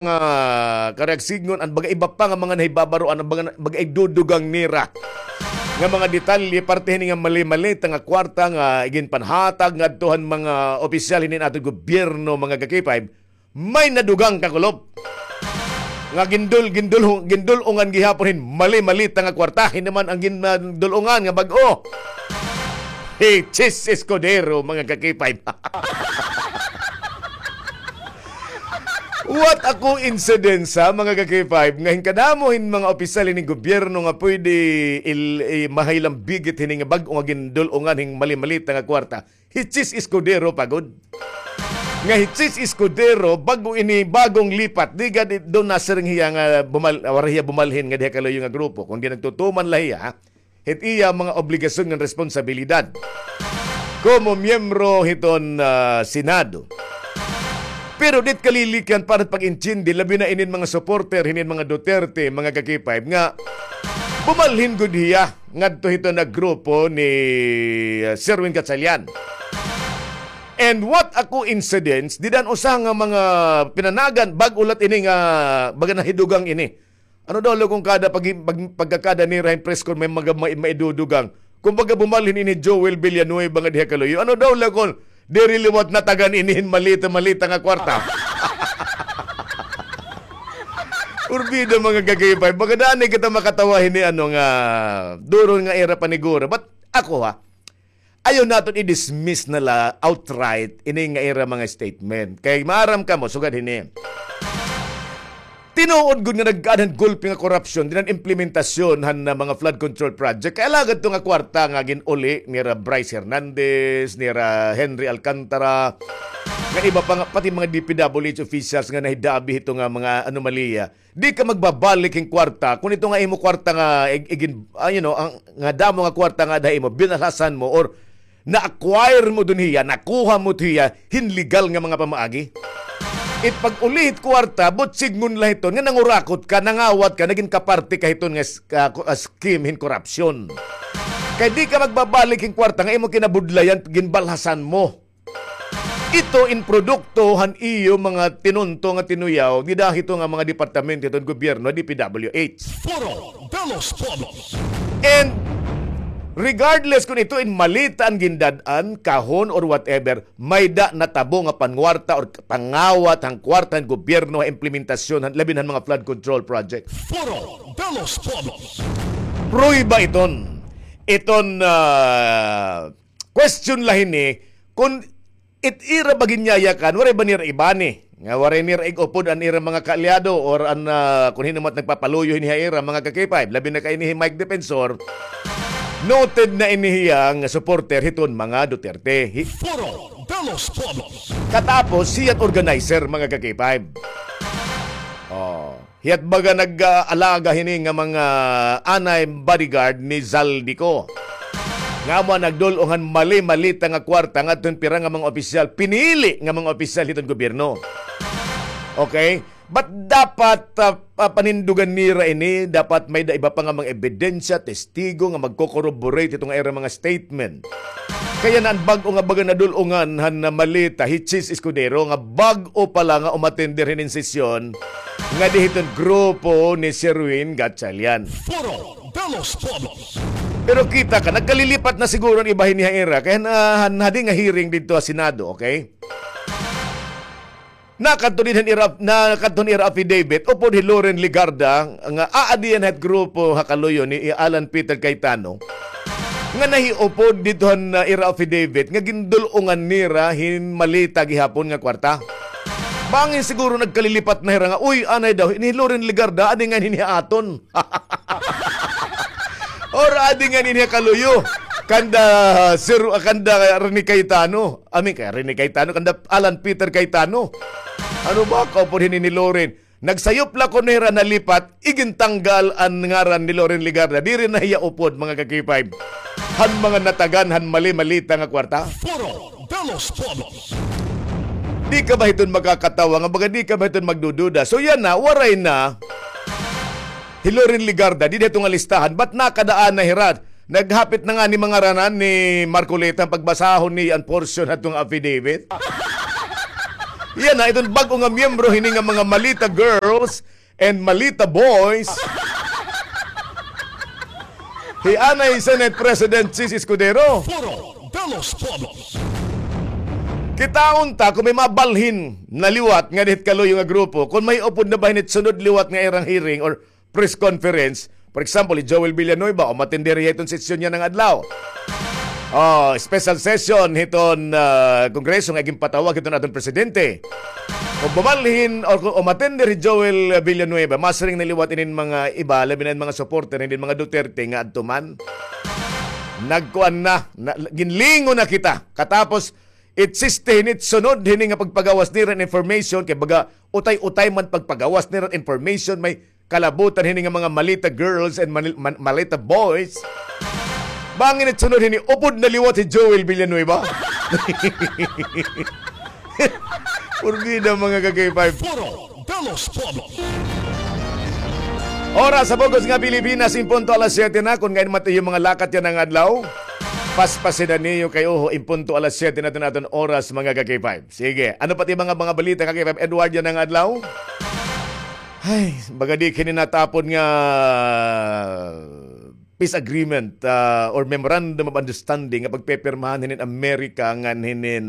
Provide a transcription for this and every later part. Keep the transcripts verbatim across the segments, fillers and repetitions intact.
nga karuyag sidngon, an baga iba pa nga mga nahibabaroan, an baga, baga igdudugang nira nga mga detalye, parte hini nga mali-malita nga kwarta nga iginpanhatag ngadto han mga opisyal hinin aton gobyerno, mga ka-K five, may nadugang, kakulop. Nga gindul-, gindul-, gindul-ungan gihapon hin mali-malita nga kwarta, hin naman an gindul-ungan nga bag-o. Hi Chiz Escudero, mga ka-K five. What a coincidence, ha, mga ka-K five, nga hin kadamo hin mga opisyal hinin gobyerno nga pwede il-, i-, mahilambigit hini nga bag-o nga gindul-ungan hin mali-malita nga kwarta. Hi Chiz Escudero pa gud. Nga hi Chiz Escudero, bag-o ini, bagong lipat. Di gad, do nasiring hiya nga bumal-, waray hiya bumalhin nga diha kaluyo nga grupo. Kundi nagtutuman la hiya, ha? Hit iya mga obligasyon ngan responsabilidad komo miyembro hiton, ah, Senado. Pero dit kalilikyan para pag-intindi, labi na inin mga supporter hinin mga Duterte, mga ka-K five, nga bumalhin gud hiya ngadto hiton nga grupo ni, ah, Sherwin Gatchalian. And what a coincidence, dida an usa nga mga pinanagan, bag-o la ini nga baga nahidugang ini. Ano daw la kon kada pag-, pag-, pagkakada nira hin press con, may mga ma-, maidudugang. Kumbaga, bumalhin ini Joel Villanueva nga diha kaluyo. Ano daw la kon diri liwat natagan ini hin malita-malita nga kwarta. Urbida, mga ka-K five, baga daan kita makatawa hini, ano nga, duron nga ira paniguro. But ako, ha, ayaw naton i-dismiss na la outright ini nga ira mga statement. Kay maaram kamo, sugad hini, tinuod gud nga nagkaada han gulpi nga korupsyon dinhi han implementasyon han, ah, mga flood control project. Kay alagad ito nga kwarta nga gin-uli nira Bryce Hernandez, nira Henry Alcantara, nga iba pa nga, pati mga D P W H officials nga nahidabi hito nga mga anomalya. Di ka magbabalik hin kwarta kon ito nga imo kwarta nga ig-, igin-, ah, you know, an, nga damo nga kwarta nga ada ha imo, binalhasan mo or na-acquire mo dinhi hiya, nakuha mo hiya hin legal nga mga pamaagi. It pag-uli hit kwarta, buot sidngon la hiton nga nangurakot ka, nangawat ka, nagin kaparte ka hiton nga s-, ah, ku-, ah, scheme hin korupsyon. Kay di ka magbabalik hin kwarta nga imo kinabudlayan, ginbalhasan mo. Ito in produkto han iyo mga tinunto nga tinuyaw dida hito nga mga departamento hiton gobyerno, D P W H. Foro de los Pueblos. And regardless kon ito in malita an gindad-an, kahon or whatever, may-ada natabo nga pangwarta or pangawat han kwarta han gobyerno ha implementasyon han, labi na han mga flood control project. Foro de los Pueblos. Prueba iton. Iton, ah, question la hini, kon it ira ba ginyayakan, waray ba nira ibani? Nga waray nira ig-upod an ira mga kaalyado or an, ah, kon hin-o man it nagpapaluyo hini ha ira, mga ka-K five, labi na kay ini hi Mike Defensor. Noted na ini hiya nga supporter hiton mga Duterte. Hi- Foro de los Pueblos. Katapos, hiya it organizer, mga ka-K five. Oh. Hiya it baga nag-aalaga hini nga mga anay bodyguard ni Zaldy Co. Nga amo an nagdul-ong han mali-malita nga kwarta ngadto hin pira nga mga opisyal, pinili nga mga opisyal hiton gobyerno. Okay? But dapat, ah, pa-, panindugan nira ini, dapat may-ada iba pa nga mga ebidensya, testigo nga magko-corroborate hiton nga ira mga statement. Kay yana an bag-o nga baga nadul-ongan han malita, hi Chiz Escudero, nga bag-o pa la nga umatender hinin sesyon ngadi hiton grupo ni Sherwin Gatchalian. Foro de los Pueblos. Pero kita ka, nagkalilipat na siguro an iba hini ha ira, kay han, ah, han hadi nga hearing didto ha Senado, okay? Nakadto dinhi han ira, nakadto han ira affidavit, upod hi Loren Legarda, nga aadi yana hit grupo ha kaluyo ni Alan Peter Cayetano, nga nahiupod didto han, ah, ira affidavit, nga gindul-ongan nira hin malita gihapon nga kwarta. Bangin siguro nagkalilipat na hira nga, uy, anay daw, ini hi Loren Legarda, adi ngay-an hini ha aton. Or adi ngay-an hini ha kaluyo. Kanda, Sir, kanda Rene Cayetano. I mean, kay Rene Cayetano, kanda Alan Peter Cayetano. Ano ba, kaupod hini ni Loren? Nagsayop la kuno hira nalipat, igintanggal an ngaran ni Loren Legarda. Diri na hiya upod, mga ka-K five. Han mga natagan, han mali-malita nga kwarta. Foro de los Pueblos. Di ka ba hiton makakatawa nga baga di ka ba hiton magdududa? So yana, waray na hi Loren Legarda, dida hiton nga listahan, but nakadaan na hira. Naghapit na ngani mangaranan ni Marcoleta pagbasahon niya an portion hadto nga affidavit. Yana, iton bag-o nga miyembro hini nga mga Malita Girls and Malita Boys. Hi anay Senate President Chiz Escudero. Foro de los Pueblos. Kitaon ta kon may mabalhin na liwat nga dihit kaluyo nga grupo, kon may upod na ba hini sunod liwat nga irang hearing or press conference. For example, hi Joel Villanueva, umatender hiya hiton sesyon yana nga adlaw. Oh, special session hiton, ah, Kongreso nga ginpatawag hiton aton presidente. Kon mabalhin or kon umatender hi Joel Villanueva, masiring na liwat inin mga iba, labi na in mga supporter hinin mga Duterte nga adto man. Nagkuan na, na, ginlingon na kita. Katapos, it siste hini, it sunod hini nga pagpagawas nira hin information, kay baga utay-utay man pagpagawas nira hin information, may kalabutan hini nga mga Malita girls and Manil-, Man-, Malita boys. Bangin it sunod hini, upod na liwat hi Joel Villanueva. Porbida, mga ka-K five. Foro de los Pueblos. Oras sa bug-os nga Pilipinas, in punto alas siyete na. Kon ngain man it iyo mga lakat yana nga adlaw, paspasi na niyo kay, oho, in punto alas siyete na iton aton oras, mga ka-K five. Sige, ano pa it mga, mga balita, ka-K five Edward, yana nga adlaw? Ay, baga di kini natapon nga peace agreement, ah, or memorandum of understanding nga pagpepirmahan hinin Amerika ngan hinin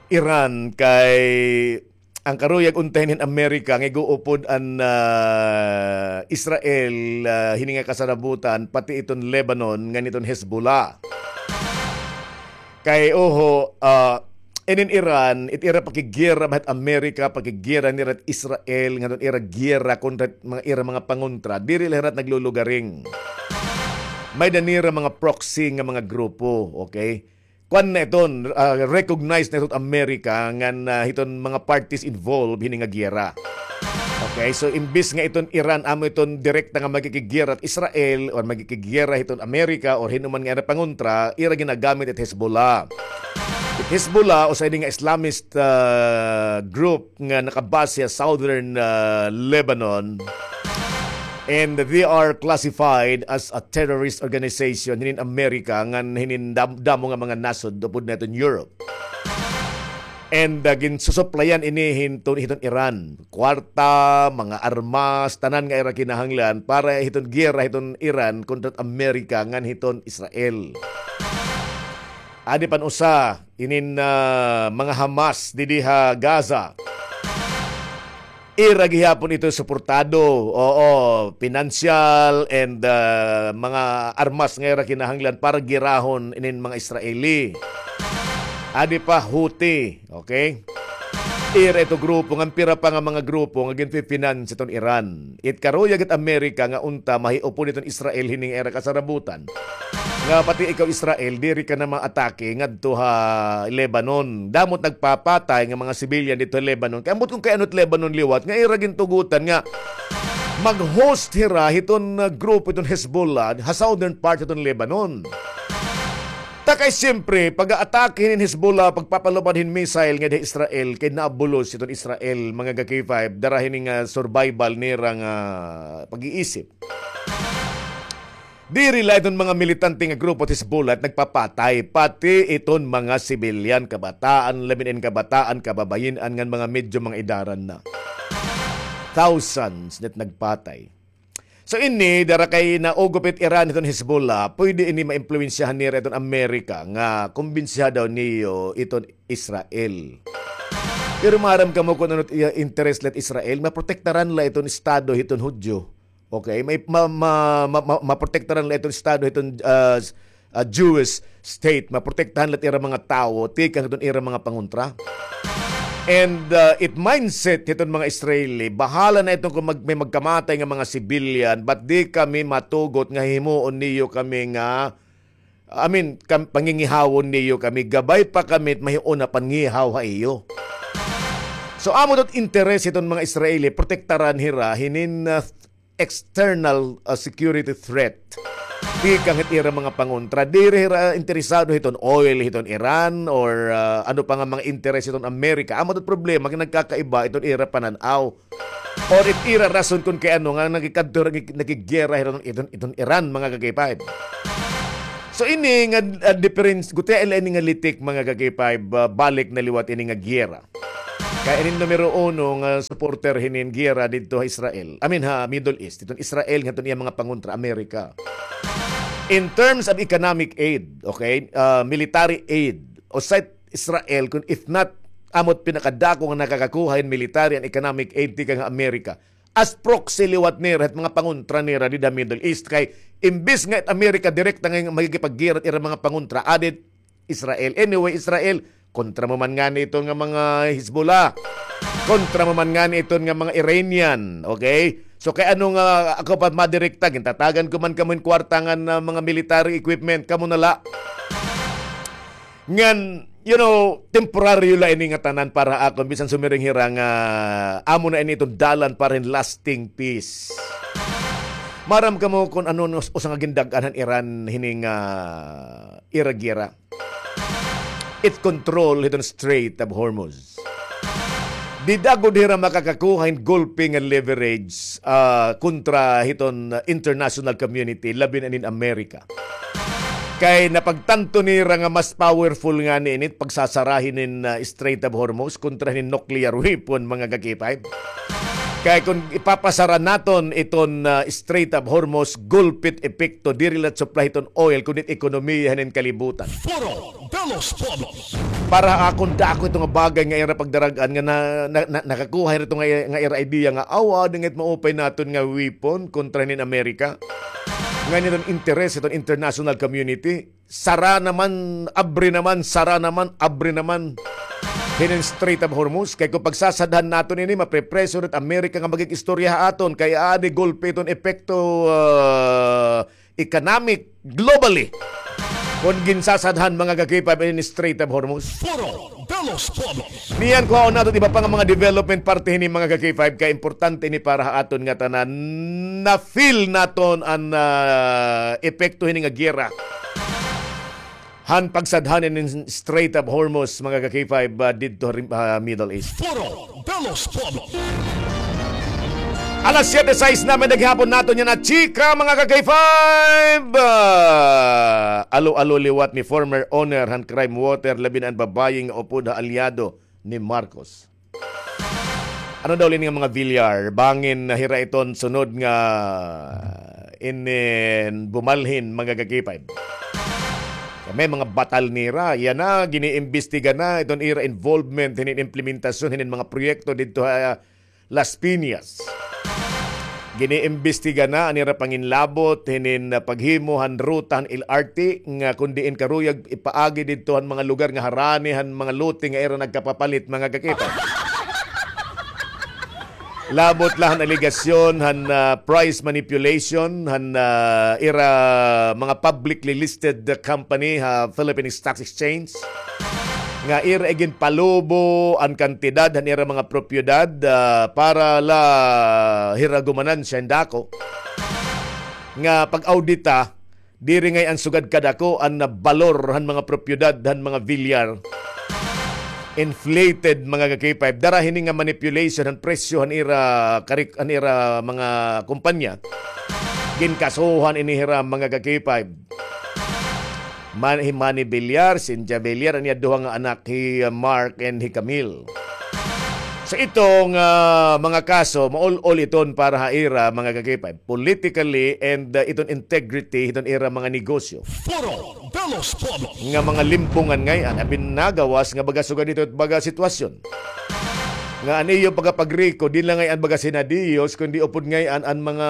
Iran, kay an karuyag unta hinin Amerika nga ig-uupod an, ah, Israel, ah, hini nga kasarabutan, pati iton Lebanon ngan iton Hezbollah. Kay, oho, ah, inin Iran, it ira pakiggiyera ba hit Amerika, pakiggiyera nira hit Israel, ngan iton ira giyera kontra hit mga ira mga pangontra, diri la hira naglulugaring. May-ada nira mga proxy nga mga grupo, okay? Kuan na iton, ah, recognize na iton Amerika ngan, ah, hiton mga parties involved hini nga giyera. Okay, so imbis nga iton Iran amo iton direkta nga magkikiggiyera hit Israel or magkikiggiyera hiton Amerika or hin-o man nga ira pangontra, ira ginagamit it Hezbollah. It Hezbollah, usa ini nga Islamist, ah, group nga nakabase ha southern, ah, Lebanon. And they are classified as a terrorist organization hinin Amerika ngan hinin dam-, damo nga mga nasod upod na iton Europe. And, ah, ginsusuplayan ini hiton, hiton Iran. Kwarta, mga armas, tanan nga ira kinahanglan para hiton giyera hiton Iran kontra Amerika ngan hiton Israel. Adi pa an usa, inin, ah, mga Hamas didi ha Gaza. Ira gihapon ito suportado, oo, pinansyal and, ah, mga armas nga ira kinahanglan para giyerahon inin mga Israeli. Adi pa, Houthi, okay? Ira ito grupo, ngan pira pa nga mga grupo nga ginfi-finance iton Iran. It karuyag it Amerika nga unta mahiupod iton Israel hini nga ira kasarabutan. Nga pati ikaw, Israel, diri ka na maatake ngadto ha Lebanon. Damo it nagpapatay nga mga civilian didto ha Lebanon. Kay ambot kon kay ano it Lebanon liwat nga ira gintugotan nga mag-host hira hiton, ah, grupo hiton Hezbollah ha southern part hiton Lebanon. Ta kay siyempre, pag-aatake hinin Hezbollah, pagpapalupad hin missile ngada ha Israel, kay naabulos iton Israel, mga ka-K five, dara hini nga survival nira nga pag-iisip. Diri la iton mga militante nga grupo it Hezbollah it nagpapatay, pati iton mga sibilyan, kabataan, labi na in kabataan, kababayin-an ngan mga medyo mga edaran na. Thousands na it nagpatay. So ini, dara kay naugop it Iran hiton Hezbollah, pwede ini maimpluwensyahan nira iton Amerika nga kumbinsiha daw niyo iton Israel. Pero maaram kamo kon ano it iya interes la it Israel, maprotektaran la iton estado hiton Hudyo. Okay, may ma-, ma-, ma-, ma-, maprotektaran la iton estado hiton, ah, s-, ah, Jewish state, maprotektahan la it ira mga tawo tikang hiton ira mga pangontra. And, ah, it mindset hiton mga Israeli, bahala na iton kon mag-, may magkamatay nga mga civilian, but di kami matugot nga himuon niyo kami nga, I mean, kam-, pangingihawon niyo kami, gabay pa kami, mahiuna pangihaw ha iyo. So, amo daw it interes hiton mga Israeli, protektaran hira hinin, ah, external, ah, security threat tikang hit ira mga pangontra. Diri hira interesado hiton oil hiton Iran or, ah, ano pa nga mga interes hiton Amerika. Amo it problema nga nagkakaiba iton ira panan-aw or it ira rason kon kay ano nga nagikadto, nagik-, nakiggiyera hiton, iton, iton Iran, mga ka-K five. So ini nga, ah, difference, gutiay la ini nga litik, mga ka-K five, ah, balik na liwat ini nga giyera. Kay ini numero uno nga supporter hinin giyera didto ha Israel. I mean, ha Middle East. Iton Israel nga iton iya mga pangontra Amerika. In terms of economic aid, okay, ah, military aid, usa it Israel, kun if not, amo it pinakadako nga nakakakuha hin military and economic aid tikang ha Amerika. As proxy liwat nira hit mga pangontra nira dida Middle East. Kay imbis nga it Amerika direkta nga makikipaggirat ira mga pangontra, adi it Israel. Anyway, Israel, kontra mo man ngani iton nga mga Hezbollah. Kontra mo man ngani iton nga mga Iranian. Okay? So, kay ano nga ako pa madirekta, gintatagan ko man kamo hin kwarta ngan, ah, mga military equipment, kamo na la. Ngan, you know, temporaryo la ini nga tanan para ha akon, bisan sumiring hira nga amo na ini iton dalan para hin lasting peace. Maaram kamo kun ano an us-, usa nga gindag-an han Iran hini nga ira giyera. It control hiton Strait of Hormuz. Dida gud hira makakakuha hin gulpi nga leverage, ah, kontra hiton, ah, international community, labi na inin Amerika. Kay napagtanto nira nga mas powerful ngani ini it pagsasara hinin, ah, Strait of Hormuz kontra hinin nuclear weapon, mga ka-K five. Kay kun ipapasara naton iton, ah, Strait of Hormuz, gulpi it epekto, diri la it supply hiton oil, kundi it ekonomiya hinin kalibutan. Foro de los Pueblos. Para ha akon, dako ito nga bagay nga ira pagdarag-an nga na, na, na, nakakuha ito nga, nga ira idea nga, aw, adi nga it maupay naton nga weapon kontra hinin Amerika. Ngan iton interes iton international community. Sara naman, abri naman, sara naman, abri naman. Hinin Strait of Hormuz. Kay kun pagsasadhan naton ini, maprepreso it Amerika nga magig-istorya ha aton. Kay adi gulpi iton epekto, ah, economic globally. Kun ginsasadhan, mga ka-K five, in Strait of Hormuz. Foro de los Pueblos. Niyan, kuhaon naton iba pa nga mga development parte hini, mga ka-K five, kay importante ini para ha aton nga tanan. Na-feel naton an, ah, epekto hini nga giyera han pagsadhan in Strait of Hormuz, mga ka-K five, ah, didto ha rim-, ah, Middle East. Foro de los Pueblos. Alas siyete sais na man gihapon naton yana chika, mga ka-K five. Ah, alo-alo liwat ni former owner han Crime Water, labi na an babaye nga upod ha alyado ni Marcos. Ano daw la ini nga mga Villar? Bangin na hira iton sunod nga inin bumalhin, mga ka-K five. May mga batal nira. Yana, giniimbestiga na iton ira involvement hinin implementasyon hinin mga proyekto didto ha Las Piñas. Giniimbestiga na an ira panginlabot hinin, ah, paghimo han ruta han L R T nga kun diin karuyag ipaagi didto han mga lugar nga harani han mga lote nga ira nagkapapalit, mga ka-K five. Labot la han alegasyon han, ah, price manipulation han, ah, ira mga publicly listed company ha Philippine Stock Exchange nga ira iginpalubo an kantidad han ira mga propiedad, ah, para la hira gumanansya hin dako. Nga pag-audita, diri ngay-an sugad kadako an balor han mga propiedad han mga Villar. Inflated, mga ka-K five. Dara hini nga manipulation han presyo han ira karik-, han ira mga kumpanya. Ginkasuhan ini hira, mga ka-K five. Man-, hi Manny Villar, Cynthia Villar, an iya duha nga anak, hi, uh, Mark and hi Camille. Sa itong, ah, mga kaso, maul-ol iton para ha ira, mga ka-K five, politically and, ah, iton integrity, iton ira mga negosyo. Foro de los Pueblos. Nga mga limbongan ngay-an, apin nagawas nga baga sugad ito baga sitwasyon. Nga an iyo pagkapagrecord, di la ngay-an baga sinadiyos, kundi upod ngay-an an mga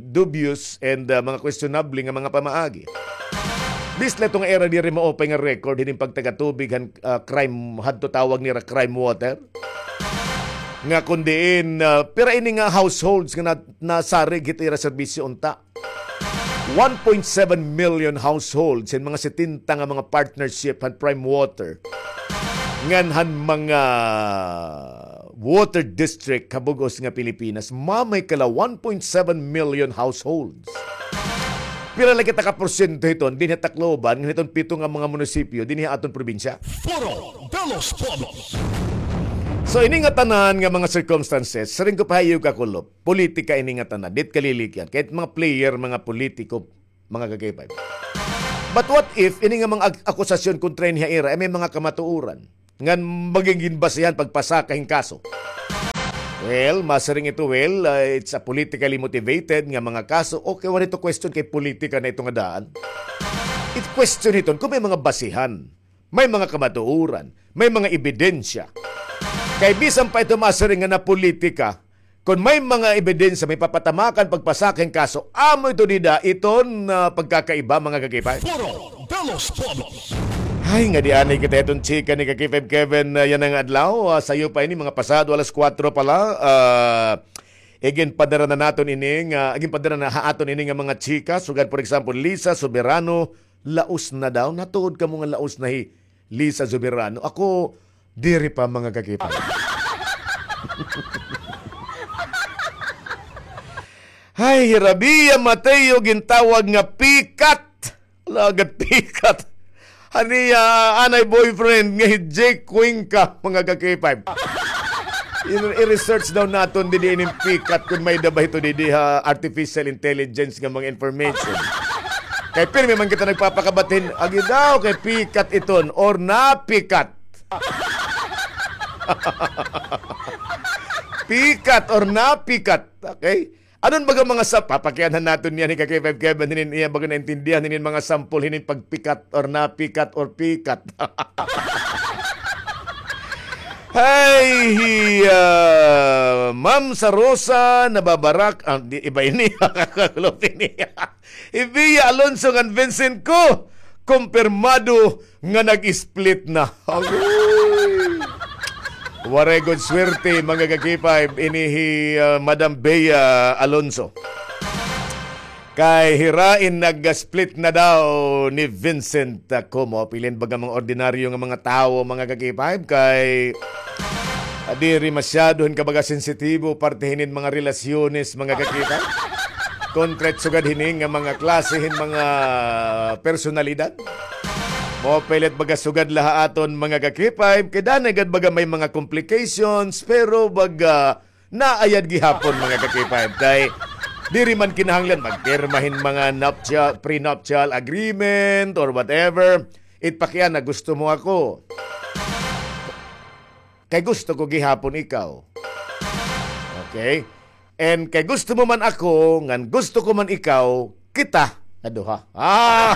dubious and, ah, mga questionable nga mga pamaagi. Bisan la ito nga ira diri maupay nga record, hinin pagtagatubig han ah, crime hadto tawag nira crime water. Nga kun diin, ah, pira ini nga households nga na-, nasarig hit ira serbisyo unta. One point seven million households hin mga setenta nga mga partnership han Prime Water. Ngan han mga water district ha bug-os nga Pilipinas, mamay kala one point seven million households. Pira la kita ka porsyento hiton dinhi ha Tacloban, ngan hiton pito nga mga munisipyo dinhi ha aton probinsya? Foro de los Pueblos. So, ini nga tanan nga mga circumstances, siring ko pa ha iyo, Kakulop, politika ini nga tanan, dit kalilikyan. Kahit mga player, mga politiko, mga ka-K five. But what if ini nga mga ak-, akusasyon kontra niya ira ay may mga kamatuoran ngan magigin basihan pagpasaka hin kaso? Well, masiring ito, well, uh, it's a politically motivated nga mga kaso. Okay, waray ito question kay politika na ito nga daan. It question hiton kung may mga basihan, may mga kamatuoran, may mga ebidensya. Kay bisan pa ito masiring nga napolitika, kon may mga ebidensya, may papatamakan, pagpasaka hin kaso, amo ito dida iton, ah, pagkakaiba, mga kakipay. Foro de los Pueblos. Ay, nga di anay kita hiton chika ni Kakipay Kevin, ah, yana nga adlaw. Ah, sayo pa ini, mga pasado alas kuwatro pa la. Ah, iginpadara na naton ini nga, iginpadara na ha aton ini nga mga chika. Sugad, for example, Lisa Soberano, laos na daw. Natuod kamo nga laos na hi Lisa Soberano. Ako, diri pa, mga kakipay. Hay, hi Rabia Mateo gintawag nga pikat. Lagad pikat. Ani, ah, anay boyfriend nga hi Jake Cuenca, mga kakipay. I-, i-research daw naton didi ining pikat kun may-ada ba ito didi ha artificial intelligence nga mga information. Kay pirmi man kita nagpapakabatin, agi daw kay pikat iton or napikat. Pikat or napikat. Okay? Anon baga mga sa-, papakianhan naton niyan hi Kakay Five Kevin, hinin iya baga naintindihan, hinin mga sample, hinin pagpikat or napikat or pikat. Hay, hi, ah, Ma'am Sarosa, nababarak, ah, di, iba ini, kakakulop ini. Hi Bea Alonso ngan Vincent ko, kumpirmado nga nag-split na. Agoy. Waray gud swerte, mga ka-K five, ini hi, ah, Madam Bea Alonso. Kay hirain nag-split na daw ni Vincent, ah, Como. Pilin baga mga ordinaryo nga mga tawo, mga ka-K five, kay, ah, diri masyado hin kabaga sensitibo parte hinin mga relasyones, mga ka-K five. Kontra it sugad hini nga mga klase hin mga personalidad. Maupay la it baga sugad la ha aton, mga ka-K five, kay danay gad baga may mga complications, pero baga naayad gihapon, mga ka-K five, kay diri man kinahanglan magpirma hin mga nuptial, prenuptial agreement or whatever. It pakiana, gusto mo ako. Kay gusto ko gihapon ikaw. Okay? And kay gusto mo man ako, ngan gusto ko man ikaw, kita nga duha. Ah!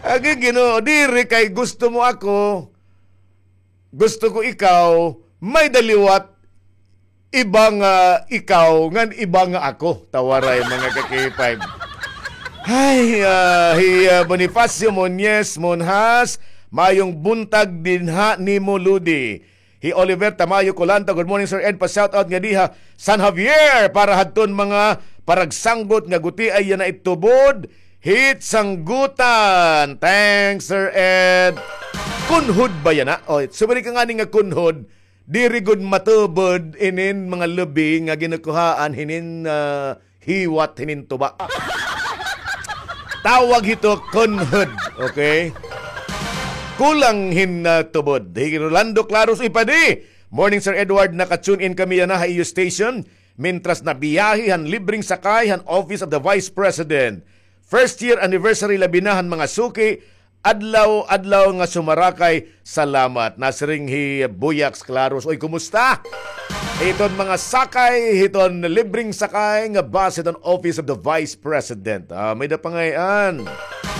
Agi Ginoo, diri kay gusto mo ako, gusto ko ikaw, may-ada liwat, iba nga ikaw, ngan iba nga ako. Tawaray, mga ka-K five. Hay, ah, hi, ah, Bonifacio Monjes Monjas, maayong buntag dinha nimo, Ludi. Hi Oliver Tamayo Colanta, good morning, Sir Ed. Pa-shoutout ngadi ha San Javier para hadton mga paragsanggot nga gutiay yana it tubod hit sanggutan. Thanks, Sir Ed. Kunhod ba yana? O, sumari ka ngani nga kunhod, diri gud matubod inin mga lubi nga ginukuhaan hinin, ah, hiwat hinin tuba. Tawag hito kunhod, okay? Kulang hin, ah, tubod. Hi Rolando Claros, uy, padi. Morning, Sir Edward. Naka-tune in kami yana ha iyo station. Mintras nabiyahe han libreng sakay han Office of the Vice President. First year anniversary labi na han mga suki. Adlaw-adlaw nga sumarakay, salamat. Nasiring hi Buyaks Claros. Oy, kumusta? Hiton mga sakay, hiton libreng sakay nga bus hiton Office of the Vice President. Ah, may-ada pangay-an.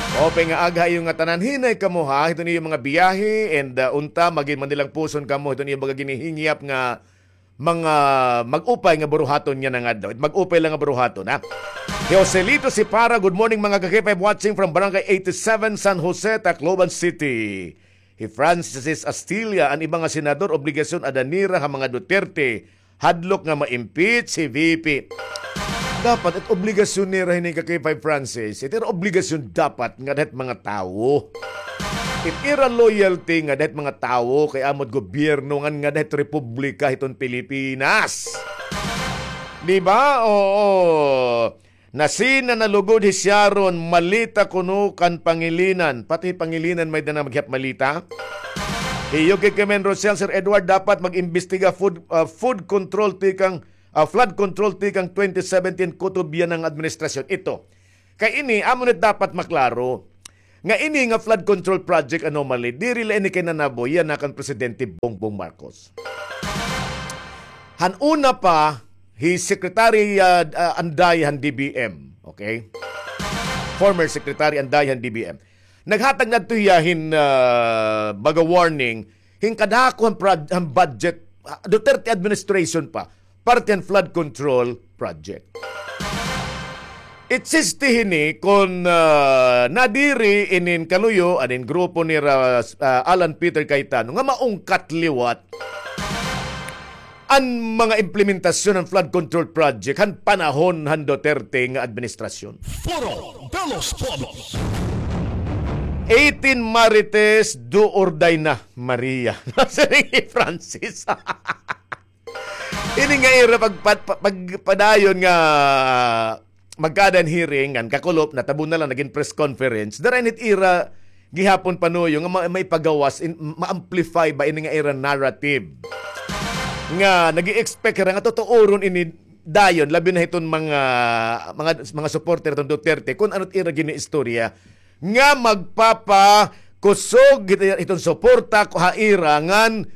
Maupay nga aga ha iyo ngatanan. Hinay kamo, ha, hiton iyo mga biyahe, and, ah, unta, magin-, manilang puson kamo hiton iyo mga ginihingyap nga mga mag-upay nga buruhaton yana nga adlaw. Mag-upay la nga buruhaton, ha? Hi Joselito Sipara, good morning, mga ka-K five, watching from Barangay eighty-seven, San Jose, Tacloban City. Hi Francis Astilla, an iba nga senador, obligasyon ada nira ha mga Duterte, hadlok nga ma-impeach hi V P. Dapat it obligasyon nira hini, ka-K five Francis, it ira obligasyon dapat ngada hit mga tawo. It ira loyalty ngada hit mga tawo kay amo it gobyerno ngan ngada hit republika hiton Pilipinas. Di ba? Oo. Nasina na lugod hi Sharon, malita kuno kan Pangilinan. Pati Pangilinan may-ada na maghiyap malita. Hi Yuki Kemen Rosel, Sir Edward, dapat mag-imbestiga food, ah, food control tikang ah, flood control tikang twenty seventeen, kutob yana nga administrasyon. Ito. Kay ini, amo na dapat maklaro nga ini nga flood control project anomaly, diri la ini kay nanaboy yana kan Presidente Bongbong Marcos. Han una pa, hi Secretary, ah, ah, Anday han D B M, okay? Former Secretary Anday han D B M. Naghatag ngadto hiya hin, ah, baga warning, hin kadako han prod-, han budget, ah, Duterte administration pa, parte han flood control project. Existe hini kon, ah, nadiri inin kaluyo, anin grupo nira, ah, Alan Peter Cayetano nga maungkat liwat an mga implementasyon han flood control project han panahon han Duterte nga administrasyon. Foro de los Pueblos. Eighteen Marites, do or die na, Maria. Siring hi Francis. Ini nga ira pag, pag, pag, padayon nga magkaada hin hearing, ngan kakulop, natabo na la, nagin press conference. Dara ini it ira gihapon panuyo nga ma-, maipagawas, in, ma-amplify ba ini nga ira narrative. Nga nag-i-expect hira nga tutuoron ini dayon, labi na hiton mga, mga, mga supporter hiton Duterte, kon ano it ira gin-iistorya nga magpapakusog hit-, hiton suporta ha ira ngan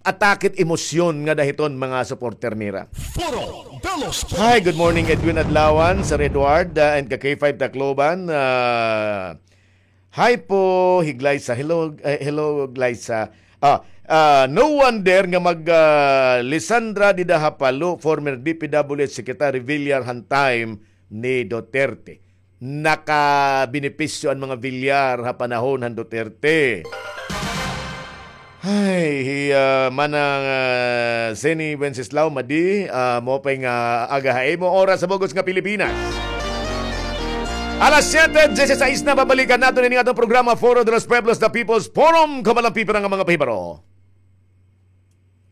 atake it emosyon ngada hiton mga supporter nira. Foro de los Pueblos. Hi, good morning, Edwin Adlawan, Sir Edward, uh, and ka K five Tacloban. Uh, hi po, hi Glyza. Hello, eh, hello, Glyza. Ah, ah, no wonder nga mag, ah, Lisandra dida ha Palo, former D P W H Secretary Villar han time ni Duterte. Nakabenepisyo an mga Villar ha panahon han Duterte. Ay, hi, ah, Manang, ah, Zeni Wenceslao, Madi, ah, maupay nga aga ha imo, oras sa bug-os nga Pilipinas. Alas siyete dieciséis na, babalikan naton ini nga aton programa, Foro de los Pueblos, The People's Forum. Kabalang pipira nga mga pahibaro.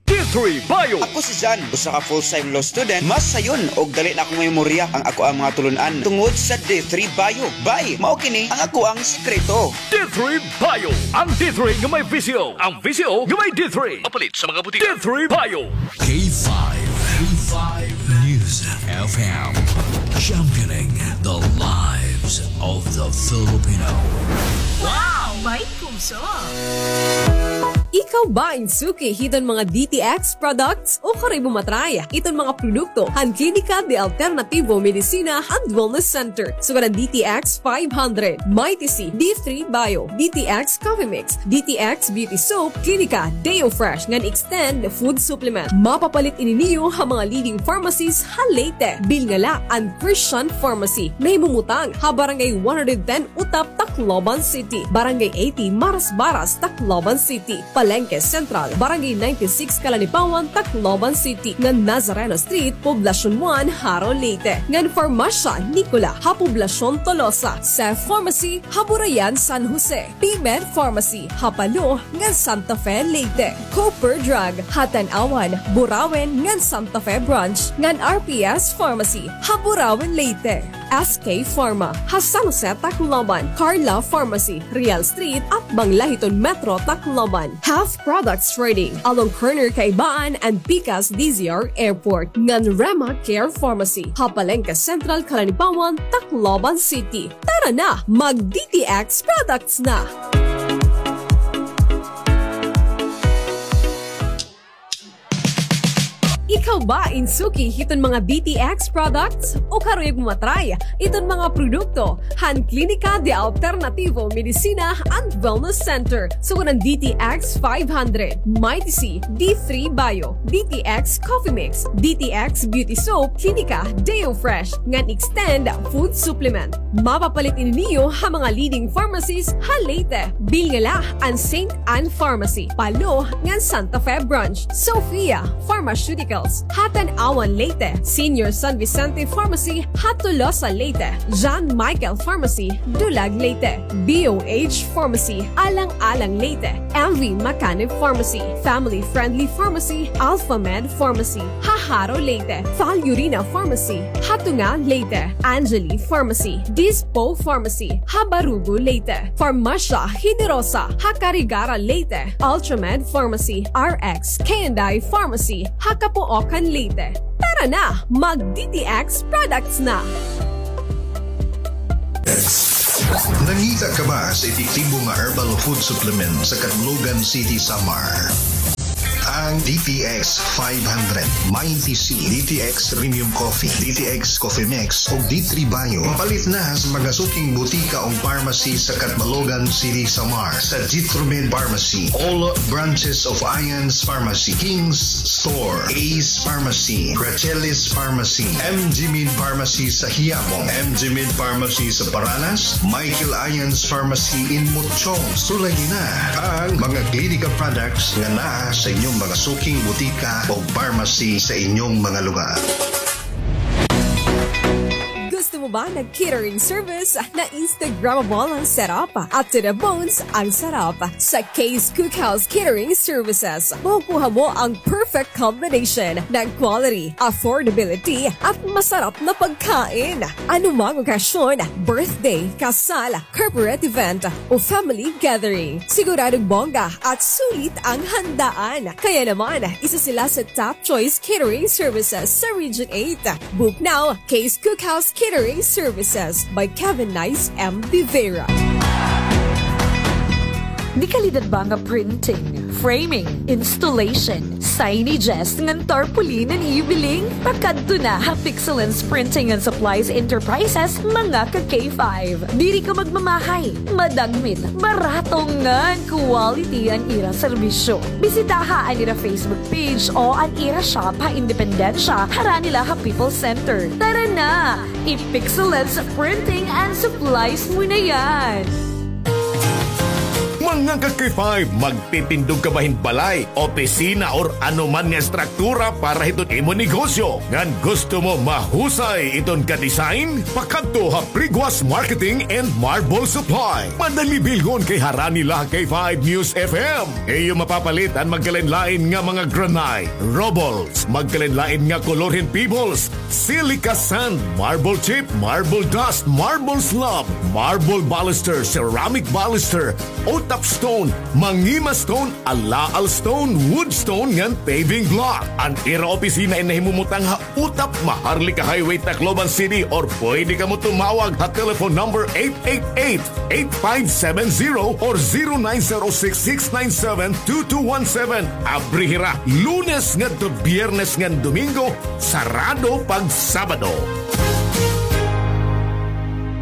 D three Bio. Ako si Jan, usa ka full-time law student. Mas sayon og dali na akong memorya ang ako ang mga tulun-an tungod sa D three Bio. Bay, mao kini ang ako ang sikreto. D three Bio. Ang D three nga may V C O. Ang V C O nga may D three. Mapalit sa mga butika. D three Bio. K five. K five News F M. Championing the lives of the Filipino. Wow! May puso! Ikaw ba in suki hiton mga D T X products o karoy mo matry iton mga produkto han Klinika de Alternativo Medicina and Wellness Center? Sugad an D T X five hundred, Mighty C, D three Bio, D T X Coffee Mix, D T X Beauty Soap, Klinika Deo Fresh ngan Extend Food Supplement. Mapapalit ini niyo ha mga leading pharmacies ha Leyte. Bilnga la an Christian Pharmacy, nahimumutang ha Barangay one hundred ten Utap, Tacloban City, Barangay eighty Marasbaras, Tacloban City, Palengke Central, Barangay ninety-six Calanipawan, Tacloban City, ngan Nazareno Street, Poblacion one, Jaro, Leyte, ngan Farmasya Nicola ha Poblacion Tolosa, Seth Pharmacy ha Burayan, San Jose, P-Med Pharmacy ha Palo ngan Santa Fe, Leyte, Cooper Drug ha Tanauan, Burauen ngan Santa Fe Branch, ngan R P S Pharmacy ha Burauen, Leyte, S K Pharma ha San Jose, Tacloban, Carla Pharmacy, Real Street, atbang la hiton Metro Tacloban, Health Products Trading along corner Kaibaan and Pikas D Z R Airport, ngan Rema Care Pharmacy ha Palengke Central, Calanipawan, Tacloban City. Tara na, mag D T X products na! Ikaw ba in suki hiton mga D T X products o karuyag mo matry iton mga produkto han Klinika de Alternativo Medicina and Wellness Center? Sugad an D T X five hundred, Mighty C, D three Bio, D T X Coffee Mix, D T X Beauty Soap, Klinika Deo Fresh, ngan Extend Food Supplement. Mapapalit ini niyo ha mga leading pharmacies ha Leyte. Bilnga la an Saint Ann Pharmacy, Palo, ngan Santa Fe Branch, Sophia Pharmaceuticals ha Tanauan, Leyte, Senior San Vicente Pharmacy ha Tolosa, Leyte, John Michael Pharmacy, Dulag, Leyte, B O H Pharmacy, Alang-alang, Leyte, M V Macanib Pharmacy, Family Friendly Pharmacy, Alpha Med Pharmacy ha Jaro, Leyte, Val Urina Pharmacy ha Tunga, Leyte, Angeli Pharmacy, Dispo Pharmacy ha Barugo, Leyte, Farmasya Generosa ha Carigara, Leyte, Ultramed Pharmacy, R X K and I Pharmacy ha Capoocan, Leyte. Tara na, mag D T X products na! Nangita ka ba sa epektibo nga herbal food supplement sa Catbalogan City, Samar? Ang D T X five hundred, Mighty C, D T X Premium Coffee, D T X Coffee Mix, ug D three Bio. Mapalit na sa mga suking butika ug pharmacy sa Catbalogan City, Samar, sa Jitromed Pharmacy, all branches of Ian's Pharmacy, King's Store, Ace Pharmacy, Rachelis Pharmacy, M G Med Pharmacy sa Quiapo, M G Med Pharmacy sa Paranas, Michael Ian's Pharmacy in Mochong. Sulayi na ang mga Clinica products nga naa sa inyong mga suking butika o pharmacy sa inyong mga lugar. Gusto mo ba ng catering service na Instagrammable ang setup at to the bones ang sarap? Sa Kay's Cookhouse Catering Services, makukuha mo ang perfect combination ng quality, affordability, at masarap na pagkain. Anumang okasyon, birthday, kasal, corporate event, o family gathering, siguradong bongga at sulit ang handaan. Kaya naman, isa sila sa top choice catering services sa Region eight. Book now, Kay's Cookhouse Catering Services by Kevin Nice M. De Vera. Dekalidad ba nga printing, framing, installation, signages ngan tarpaulin an ibiling? Pakadto na ha Pixelance Printing and Supplies Enterprises, mga ka K five. Diri ka magmamahay, madagmit, barato ngan quality an ira serbisyo. Bisitaha an ira Facebook page o an ira shop ha Independencia, harani la ha People's Center. Tara na! I-Pixelance Printing and Supplies mo na yan! Mga ka K five, magtitindog ka ba hin balay, opisina, or anoman nga estruktura para hiton imo negosyo? Ngan gusto mo mahusay iton ka-design? Pakadto ha Priguas Marketing and Marble Supply. Madali bilngon kay harani la ha K five News F M. Iyo mapapalit an magkalainlain nga mga granite, rubbles, magkalainlain nga kolor hin pebbles, silica sand, marble chip, marble dust, marble slab, marble baluster, ceramic baluster, O-top stone, mangima stone, alaal stone, wood stone, ngan paving block. An ira opisina in nahimumutang ha Utap, Maharlika Highway, Tacloban City, or pwede kamo tumawag ha telephone number eight eight eight, eight five seven zero or zero nine zero six, six nine seven, two two one seven. Abri hira Lunes ngadto Biyernes ngan Domingo, sarado pag Sabado.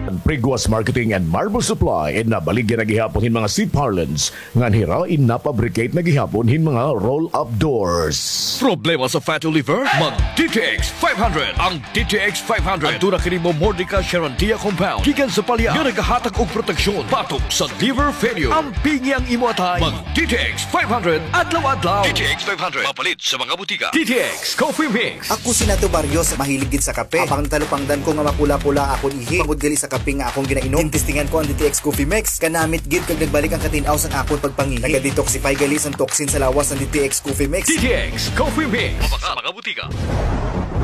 An Priguas Marketing and Marble Supply in nabaligya na gihapon hin mga seat parlance, ngan hira in na-fabricate na gihapon hin mga roll-up doors. Problema sa fatty liver? Mag D T X five hundred. Ang D T X five hundred aduna kini Momordica charantia compound gikan sa palya nga nagahatag og proteksyon batok sa liver failure. Ampingi ang imo atay. Mag D T X five hundred adlaw-adlaw. D T X five hundred mapalit sa mga butika. D T X Coffee Mix. Ako si Nato Barrios, mahilig gid sa kape. Habang natalupangdan ko nga mapula-pula akon ihi, bangod gali sa kape nga akon ginainom, ginestingan ko an D T X Coffee Mix. Kanamit gid kag nagbalik an katin-aw san akon pagpangihi. Naga-detoxify gali san toxin sa lawas an D T X Coffee Mix. D T X Coffee Mix. Mabaka sa mga butika.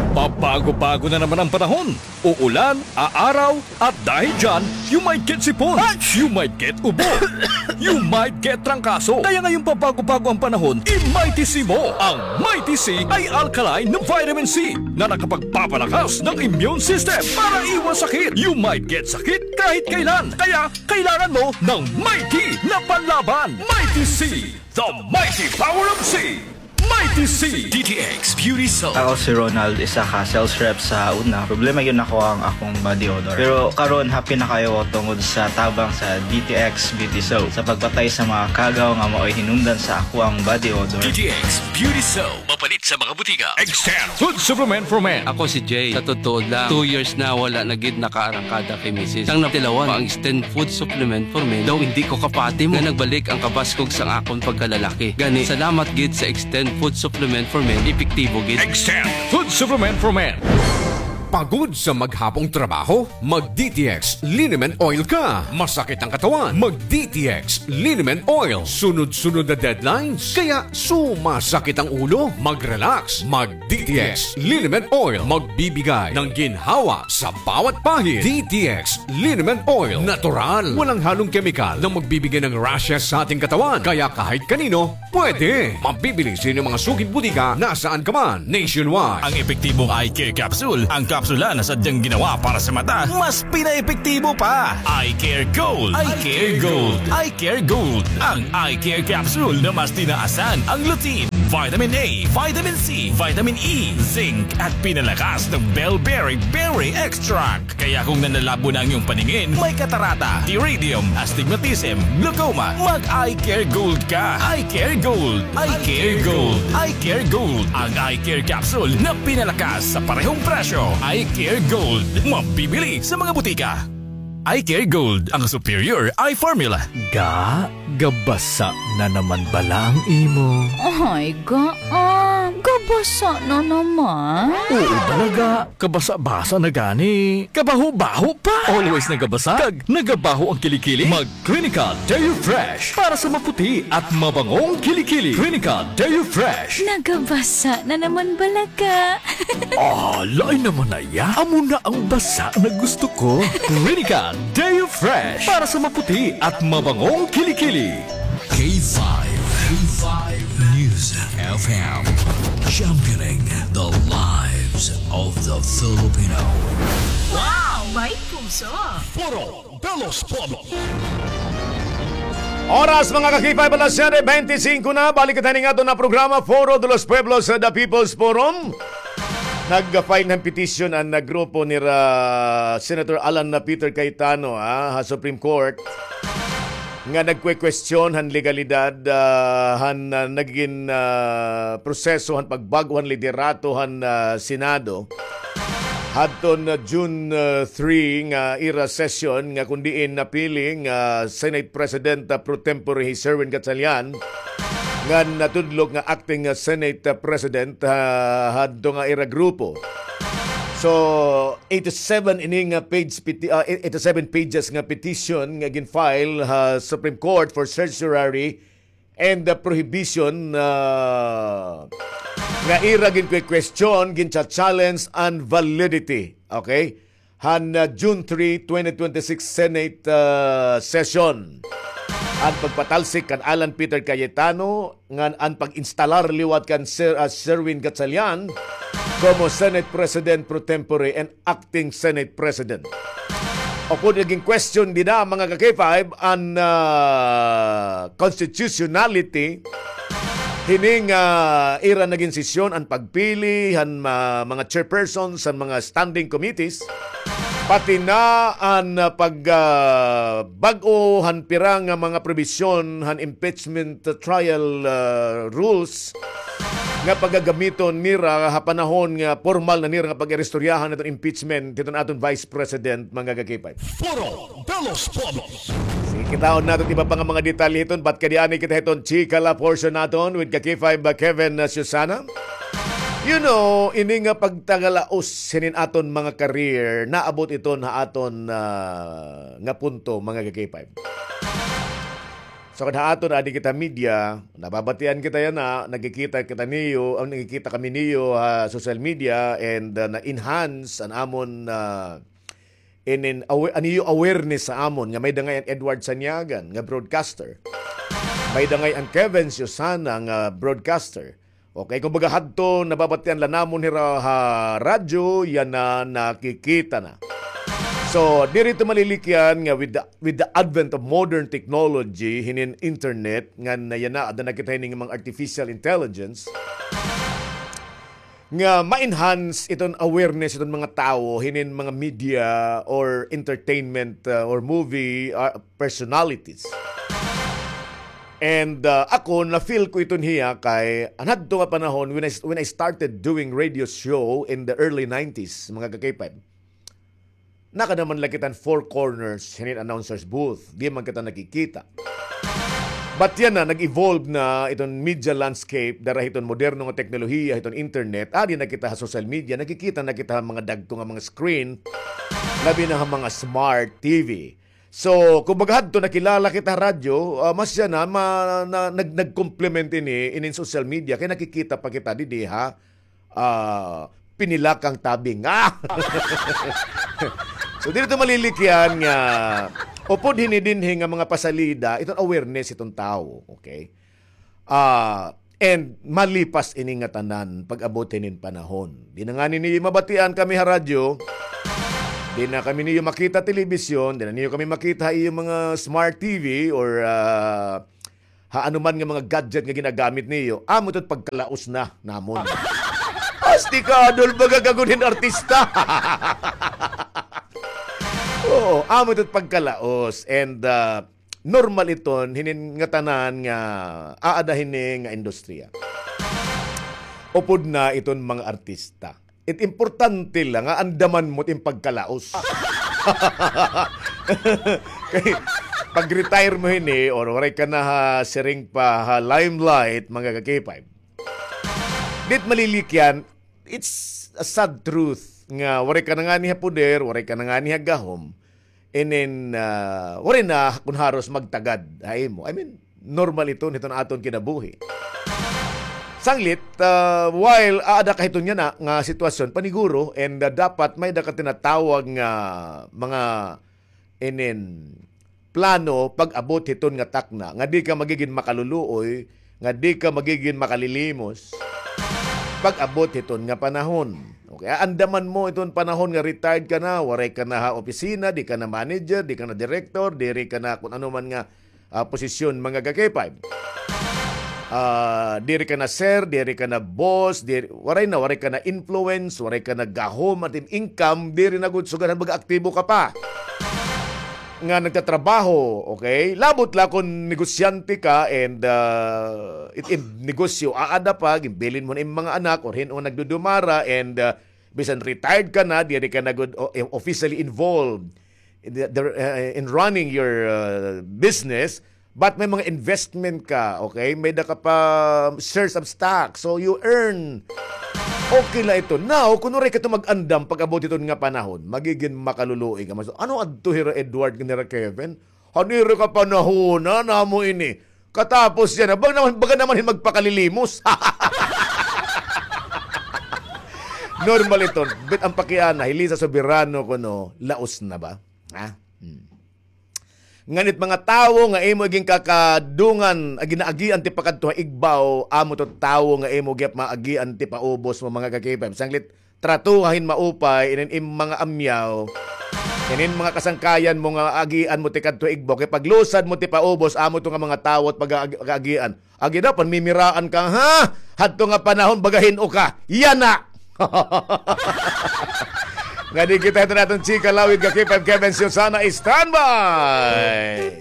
Pabago-bago na naman ang panahon. Uulan, aaraw, at dahil dyan, you might get sipon, you might get ubo, you might get trangkaso. Kaya ngayong pabago-bago ang panahon, i-Mighty C mo. Ang Mighty C ay alkaline na vitamin C na nakapagpapalakas ng immune system para iwas sakit. You might get sakit kahit kailan. Kaya kailangan mo ng Mighty na panlaban. Mighty C, the mighty power of C. Mighty C. D T X Beauty Soap. Ako si Ronald, isa ka sales rep sa una. Problema gyud nako ang akong body odor. Pero karon, happy na kaayo ko tungod sa tabang sa D T X Beauty Soap. Sa pagpatay sa mga kagaw nga maoy hinungdan sa akoang body odor. D T X Beauty Soap. Mapalit sa mga butika. Extend Food Supplement for Men. Ako si Jay. Sa totoo lang, two years na wala na gid nakaarangkada kay misis. Sang natilawan pa ang Extend Food Supplement for Men, daw indi ko kapati mo nga nagbalik ang kabaskog sang akon pagkalalaki. Gani, salamat gid sa Extend Food Supplement for Men, epektibo gid. Extend Food Supplement for Men. Pagod sa maghapong trabaho? Mag D T X Liniment Oil ka. Masakit ang katawan? Mag D T X Liniment Oil. Sunod-sunod na deadlines? Kaya sumasakit ang ulo? Mag-relax. Mag D T X Liniment Oil. Magbibigay ng ginhawa sa bawat pahid. D T X Liniment Oil. Natural. Walang halong kemikal na magbibigay ng rashes sa ating katawan. Kaya kahit kanino, pwede. Mabibili sa inyong mga suking butika nasaan ka man, nationwide. Ang epektibong eye care capsule, ang kapsula na sadyang ginawa para sa mata, mas pinaepektibo pa. Eye Care Gold. Eye Care Gold. Eye Care Gold. Ang Eye Care Capsule na mas tinaasan ang lutein, vitamin A, vitamin C, vitamin E, zinc, at pinalakas ng bellberry berry extract. Kaya kung nanlalabo na ang iyong paningin, may katarata, iridium, astigmatism, glaucoma, mag-Eye Care Gold ka. Eye Care Gold. Eye Care Gold. Eye Care Gold. Ang Eye Care Capsule na pinalakas sa parehong presyo. Eye Care Gold. Mabibili sa mga butika. Eye Care Gold, ang superior eye formula. Ga, gabasa na naman bala ang imo? Ay, ga, ah, gabasa na naman. Oo, bala, ga. Kabasa-basa na gani. Kabaho-baho pa. Always nagabasa. Kag nagabaho ang kilikili. Mag Clinical Deo Fresh para sa maputi at mabangong kilikili. Clinical Deo Fresh. Nagabasa na naman bala ka. Ah, lain naman na iya. Amo na ang basa na gusto ko. Clinical Deo Fresh para sa maputi at mabangong kilikili. K five, K five News F M, championing the lives of the Filipino. Wow! May puso! Foro de los Pueblos. Oras, mga ka-K five, alas siyete bente singko na. Balik kita ning aton na programa, Foro de los Pueblos, sa The People's Forum. Nag-file ng petition an, ah, grupo ni ra Senator Alan na Peter Cayetano, ah, ha Supreme Court nga nagkwe-question han legalidad, ah, han, ah, nagin, ah, proseso han pagbag-o han liderato han, ah, Senado hadton, ah, June, ah, three nga ira session nga kon diin napili nga Senate President, ah, pro tempore hi Sherwin Gatchalian ngan natudlok nga acting, ah, Senate, ah, President, ah, hadto nga ira grupo. So, eighty-seven ini nga page peti-, ah, eighty-seven pages nga petition nga gin-file ha Supreme Court for certiorari and the prohibition, ah, nga ira gin-question, gin-challenge an validity. Okay? Han, ah, June three, twenty twenty-six Senate, ah, session. An pagpatalsik kan Alan Peter Cayetano ngan an pag-instalar liwat kan Sir, ah, Sherwin Gatchalian como Senate President pro tempore and acting Senate President. Upod nagin question dida, mga ka-K five, an, ah, constitutionality hining, ah, ira nagin sesyon, an pagpili han ma-, mga chairpersons han mga standing committees, pati na an, ah, pag, ah, bag-o han pira nga mga probisyon han impeachment trial, ah, rules nga pagagamiton nira ha panahon nga pormal na nira nga pag-iristoryahan hiton impeachment hiton aton Vice President, mga ka-K five. Foro de los Pueblos. Sige, kitaon naton iba pa nga mga detalye hiton, bat kay di ani kita hiton chika la portion naton with ka-K five, uh, Kevin, uh, Susana. You know, ini nga pagtagalaos hinin aton mga career, naabot iton ha aton, uh, nga punto, mga ka-K five. So, kada aton, adi kita media, nababatian kita yana, nagkikita kita niyo, ang nagkikita kami niyo ha social media, and, uh, na-enhance an amon, uh, inin awa-, an iyo awareness sa amon, nga may-ada ngay an Edward Saniagan nga broadcaster. May-ada ngay an Kevin Susana nga broadcaster. Okay, kumbaga hadto, nababatian la namon hira ha radyo, yana nakikita na. So, diri ito malilikyan nga with the, with the advent of modern technology, hinin internet, ngan yana, ada na kita hinin mga artificial intelligence, nga ma-enhance iton awareness iton mga tawo hinin mga media or entertainment, uh, or movie, uh, personalities. And, uh, ako, na-feel ko iton hiya kay an hadto nga panahon when I, when I started doing radio show in the early nineties, mga ka-K five. Nakada man la kita han four corners hinin announcer's booth. Di man kita nakikita. But yana, nag-evolve na iton media landscape, dara hiton moderno nga teknolohiya, hiton internet, adi na kita ha social media, nakikita na kita ha mga dagko nga mga screen, labi na ha mga smart T V. So, kumbaga hadto nakilala kita ha radyo, ah, mas yana, ma-, na-, nag-, nag-complement ini, inin social media, kay nakikita pa kita didi ha ah, pinilakang tabing. Ah! So, diri ito malilikyan nga upod hini dinhi nga mga pasalida, iton awareness iton tawo, okay? Ah, and malipas ini nga tanan pag-abot hinin panahon. Di na ngani niyo mabatian kami ha radyo, di na kami niyo makita telebisyon, di na niyo kami makita ha iyo mga smart T V or, ah, ha anuman nga mga gadget nga ginagamit niyo, amo ito pagkalaos na namon. Astika, Adol, baga gagod hin artista. Oo, amo ito pagkalaos. And, ah, normal iton, hinin nga tanan nga aada hini nga industriya. Upod na iton mga artista. It importante la nga andaman mo it im pagkalaos. Kay pag-retire mo hini, or waray ka na ha siring pa ha limelight, mga ka-K five. Di it malilikyan, it's a sad truth nga waray ka na ngani ha poder, waray ka na ngani ha gahom. And then, ah, waray na kun haros magtagad ha imo. I mean, normal iton hiton aton kinabuhi. Sanglit, ah, while aada ka hiton yana nga sitwasyon, paniguro, and, ah, dapat may-ada ka tinatawag nga mga inin plano pag-abot hiton nga takna, nga di ka magigin makaluluoy, nga di ka magigin makalilimos pag-abot hiton nga panahon. Okay, aandaman mo iton panahon nga retired ka na, waray ka na ha opisina, di ka na manager, di ka na director, diri ka na kun ano man nga, ah, posisyon, mga ka-K five. Ah, diri ka na sir, diri ka na boss, diri, waray na, waray ka na influence, waray ka na gahom, at im income, diri na gud sugad han baga aktibo ka pa nga nagtatrabaho, okay? Labot la kon negosyante ka and, ah, it, it negosyo, aada pa, ginbilin mo na im mga anak, or hin-o nagdudumara, and, ah, bisan retired ka na, diri ka na gud o-, officially involved in the, the, uh, in running your, uh, business, but may mga investment ka, okay? May-ada ka pa shares of stock, so you earn. Okay la ito. Now, kun waray ka ito mag-andam pag-abot hiton nga panahon, magigin makaluluoy ka. Mas, ano adto hira Edward, nira Kevin? Hanira ka panahona namo ini. Katapos yana, baga naman, baga naman hin magpakalilimos. Normal iton. Bit-an pa kay ana, hili sa soberano kuno, laos na ba? Ha? Hmm. Ngan it mga tawo nga imo igin kakadungan, agi-, naagian ti pakadto ha igbaw, amo to tawo nga imo gihap maagian ti paubos mo, mga ka-K five. Sanglit, tratuha hin maupay, inin im mga amyaw, inin mga kasangkayan mo nga agian mo ti kadto igbaw, kay paglusad mo ti paubos, amo to nga mga tawo it pag-, ag-, agian. Agi daw, panmimiraan ka, ha? Hadto nga panahon, baga hin-o ka. Yana! Nga di kita ito naton chika lawig, ka-K five Kevin Susana, standby!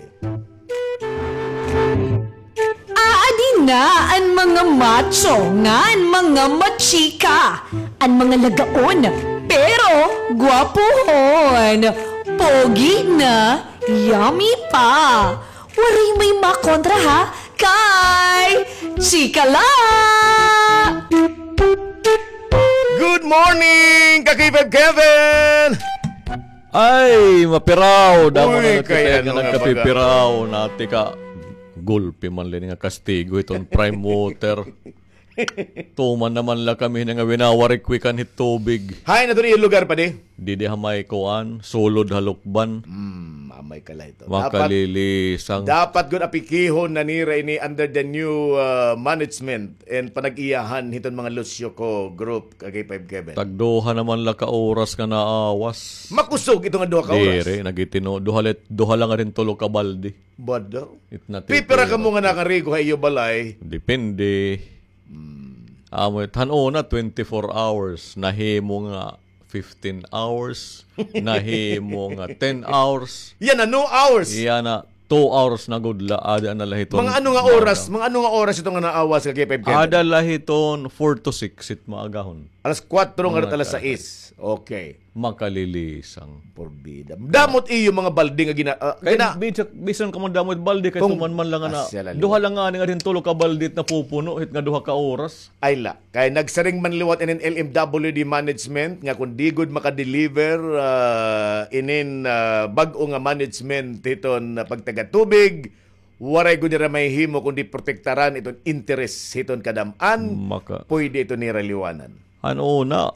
Aadi na an mga macho ngan mga machika, an mga lagaon, pero gwapohon, pogi na, yummy pa. Waray may makontra ha, kay chika la! Good morning, ka-K five Kevin! Ay, mapiraw. Damo na kay kita ano nga nagkapipiraw. Nati ka, gulpi man la ini nga kastigo hiton Prime Water. Tuman naman la kami nga winawarikwikan hit tubig. Hain na to iyo lugar, padi? Didi ha may kuan, sulod ha lukban. Hmm, amay ka la ito. Makalilisang. Dapat, dapat gud apikihon na nira ini under the new, uh, management and panag-iyahan hiton mga Lucio-Co group, ka-K five Kevin. Tagduha naman la ka oras nga naawas. Makusog ito nga duha ka oras. Diri, nagitino. Duha let, duha lang rin tulo ka baldi. Bado. Pipira ka mo nga nakarigo ha iyo balay? Depende. Hmm. Amo it, han una, twenty-four hours. Nahimo nga fifteen hours. Nahimo nga ten hours. Yana, no hours. Yana, two hours na gud la, ada na la hiton. Mga ano nga oras, mga ano nga oras ito nga naawas, ka-K five Kevin? Ada la hiton four to six it maagahon. Alas kuwatro nga alas sais. Okay. Makalilisang. Porbida. Damo it iyo mga balde nga gina-, ah, kay gina- bisan, bisan ka man damo it balde kay tuman man la nga na, duha la ngani nga dinhi tulo ka balde it napupuno hit nga duha ka oras. Ay la. Kay nagsiring man liwat inin L M W D management nga kon di gud maka-deliver, ah, inin, ah, bag-o nga management hiton, ah, pagtagatubig, waray gud nira mahihimo kundi protektaran iton interes hiton kadam-an. Pwede ito nira liwanan. Ano na?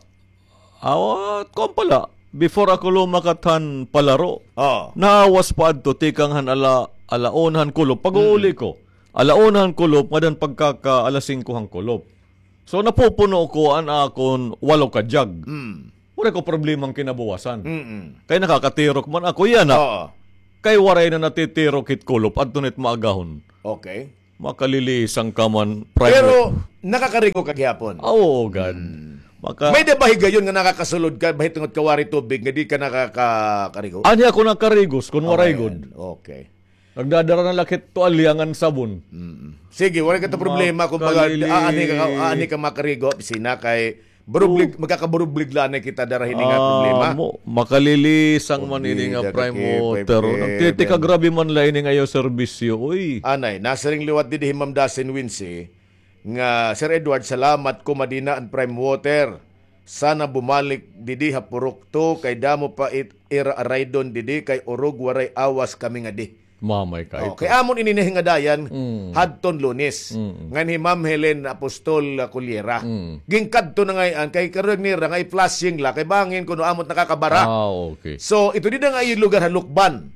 Awat, kuan pala, before ako lumakat han palaro, naawas pa adto tikang han ala, ala una han kulop. Pag-uuli ko, ala una han kulop, ngada han pagkaka alas singko han kulop. So, napupuno ko an akon walo ka jug. Waray ko problema han kinabuwasan. Kay nakakatirok man ako, yana. Kay waray na natitirok hit kulop, adto na it maagahon. Okay. Makalilisang ka man, Prime. Pero nakakarigo ka gihapon? Ah, oo, gad. May-ada ba higayon nga nakakasulod ka, bahin tungod kay waray tubig, nga di ka nakakarigo? Anhi ako nakarigos, kon waray gud. Okay. Nagdadara na la ak hit tuwalya ngan sabon. Sige, waray ka ta problema, kumbaga, aanhi ka, aanhi ka makarigo, opisina kay Barublig, magkakabarublig la anay kita dara hini nga problema. Amo, makalilisang man ini nga Prime Water. Nagtitikagrabe man la ini nga iyo serbisyo, uy. Anay, nasiring liwat didi hi Ma'am Dasin Wincy nga, "Sir Edward, salamat, kumadina an Prime Water. Sana bumalik didi ha Purok two kay damo pa it ira araydon didi kay urog waray awas kami ngadi." Mamay ka ito. Kay amon ini nahingadayan hadton Lunes. Ngan hi Ma'am Helen Apostol, ah, Cullera. Ginkadto na ngay-an kay karuyag nira nga i-flushing la kay bangin kuno amot nakakabara. Ah, okay. So, ito dida nga iyo lugar ha Lukban.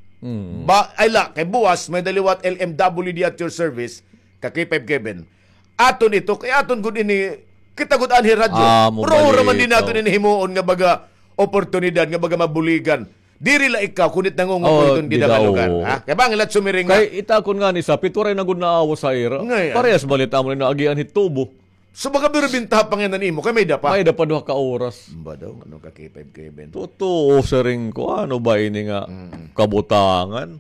Ba, ay la, kay buwas may-ada liwat L M W D at your service, ka K five Kevin. Aton ito, kay aton gud ini, kita gud anhi radyo. Pero ura man din naton ini himuon nga baga oportunidad, nga baga mabuligan. Diri la ikaw, kundi it nangungupol iton dida nga lugar, ha? Kay bangin la it sumiring nga. Kay it akon ngani sapit, waray na gud naawas ha ira. Parehas man la it amon nga naagian hit tubo. So, baka pero bintaha pa ngay-an imo, kay may-ada pa. May-ada pa duha ka oras. Ba daw, ano ka, K five Kevin? Totoo, siring ko, ano ba ini nga kabutangan?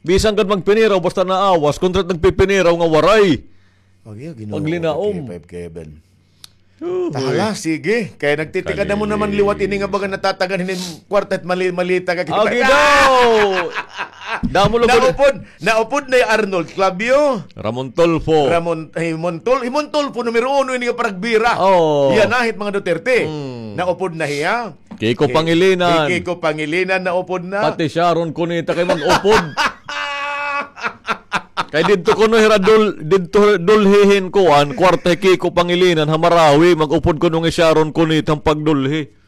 Bisan gad magpiniraw, basta naawas, kontra nagpipiniraw nga waray. Paglinaom. K five Kevin. Hala, sige. Kay nagtitikad na mo naman liwat ini nga baga natatagan hinin kwarta hit mali-, malita ka kita. Agi daw! Damo lugod. Naupod, naupod na hi Arnold Clavio. Ramon Tulfo. Ramon, hi Mon Tul-, hi Mon Tulfo, numero uno ini nga paragbira. Oo. Yana hit mga Duterte. Naupod na hiya. Kiko Pangilinan. Hi Kiko Pangilinan, naupod na. Pati Sharon Cuneta kay mag-upod. Kay didto kuno hira dul-, didto dulhi hin kuan, kwarta hi Kiko Pangilinan ha Marawi, mag-upod kuno hi Sharon Cuneta han pagdulhi.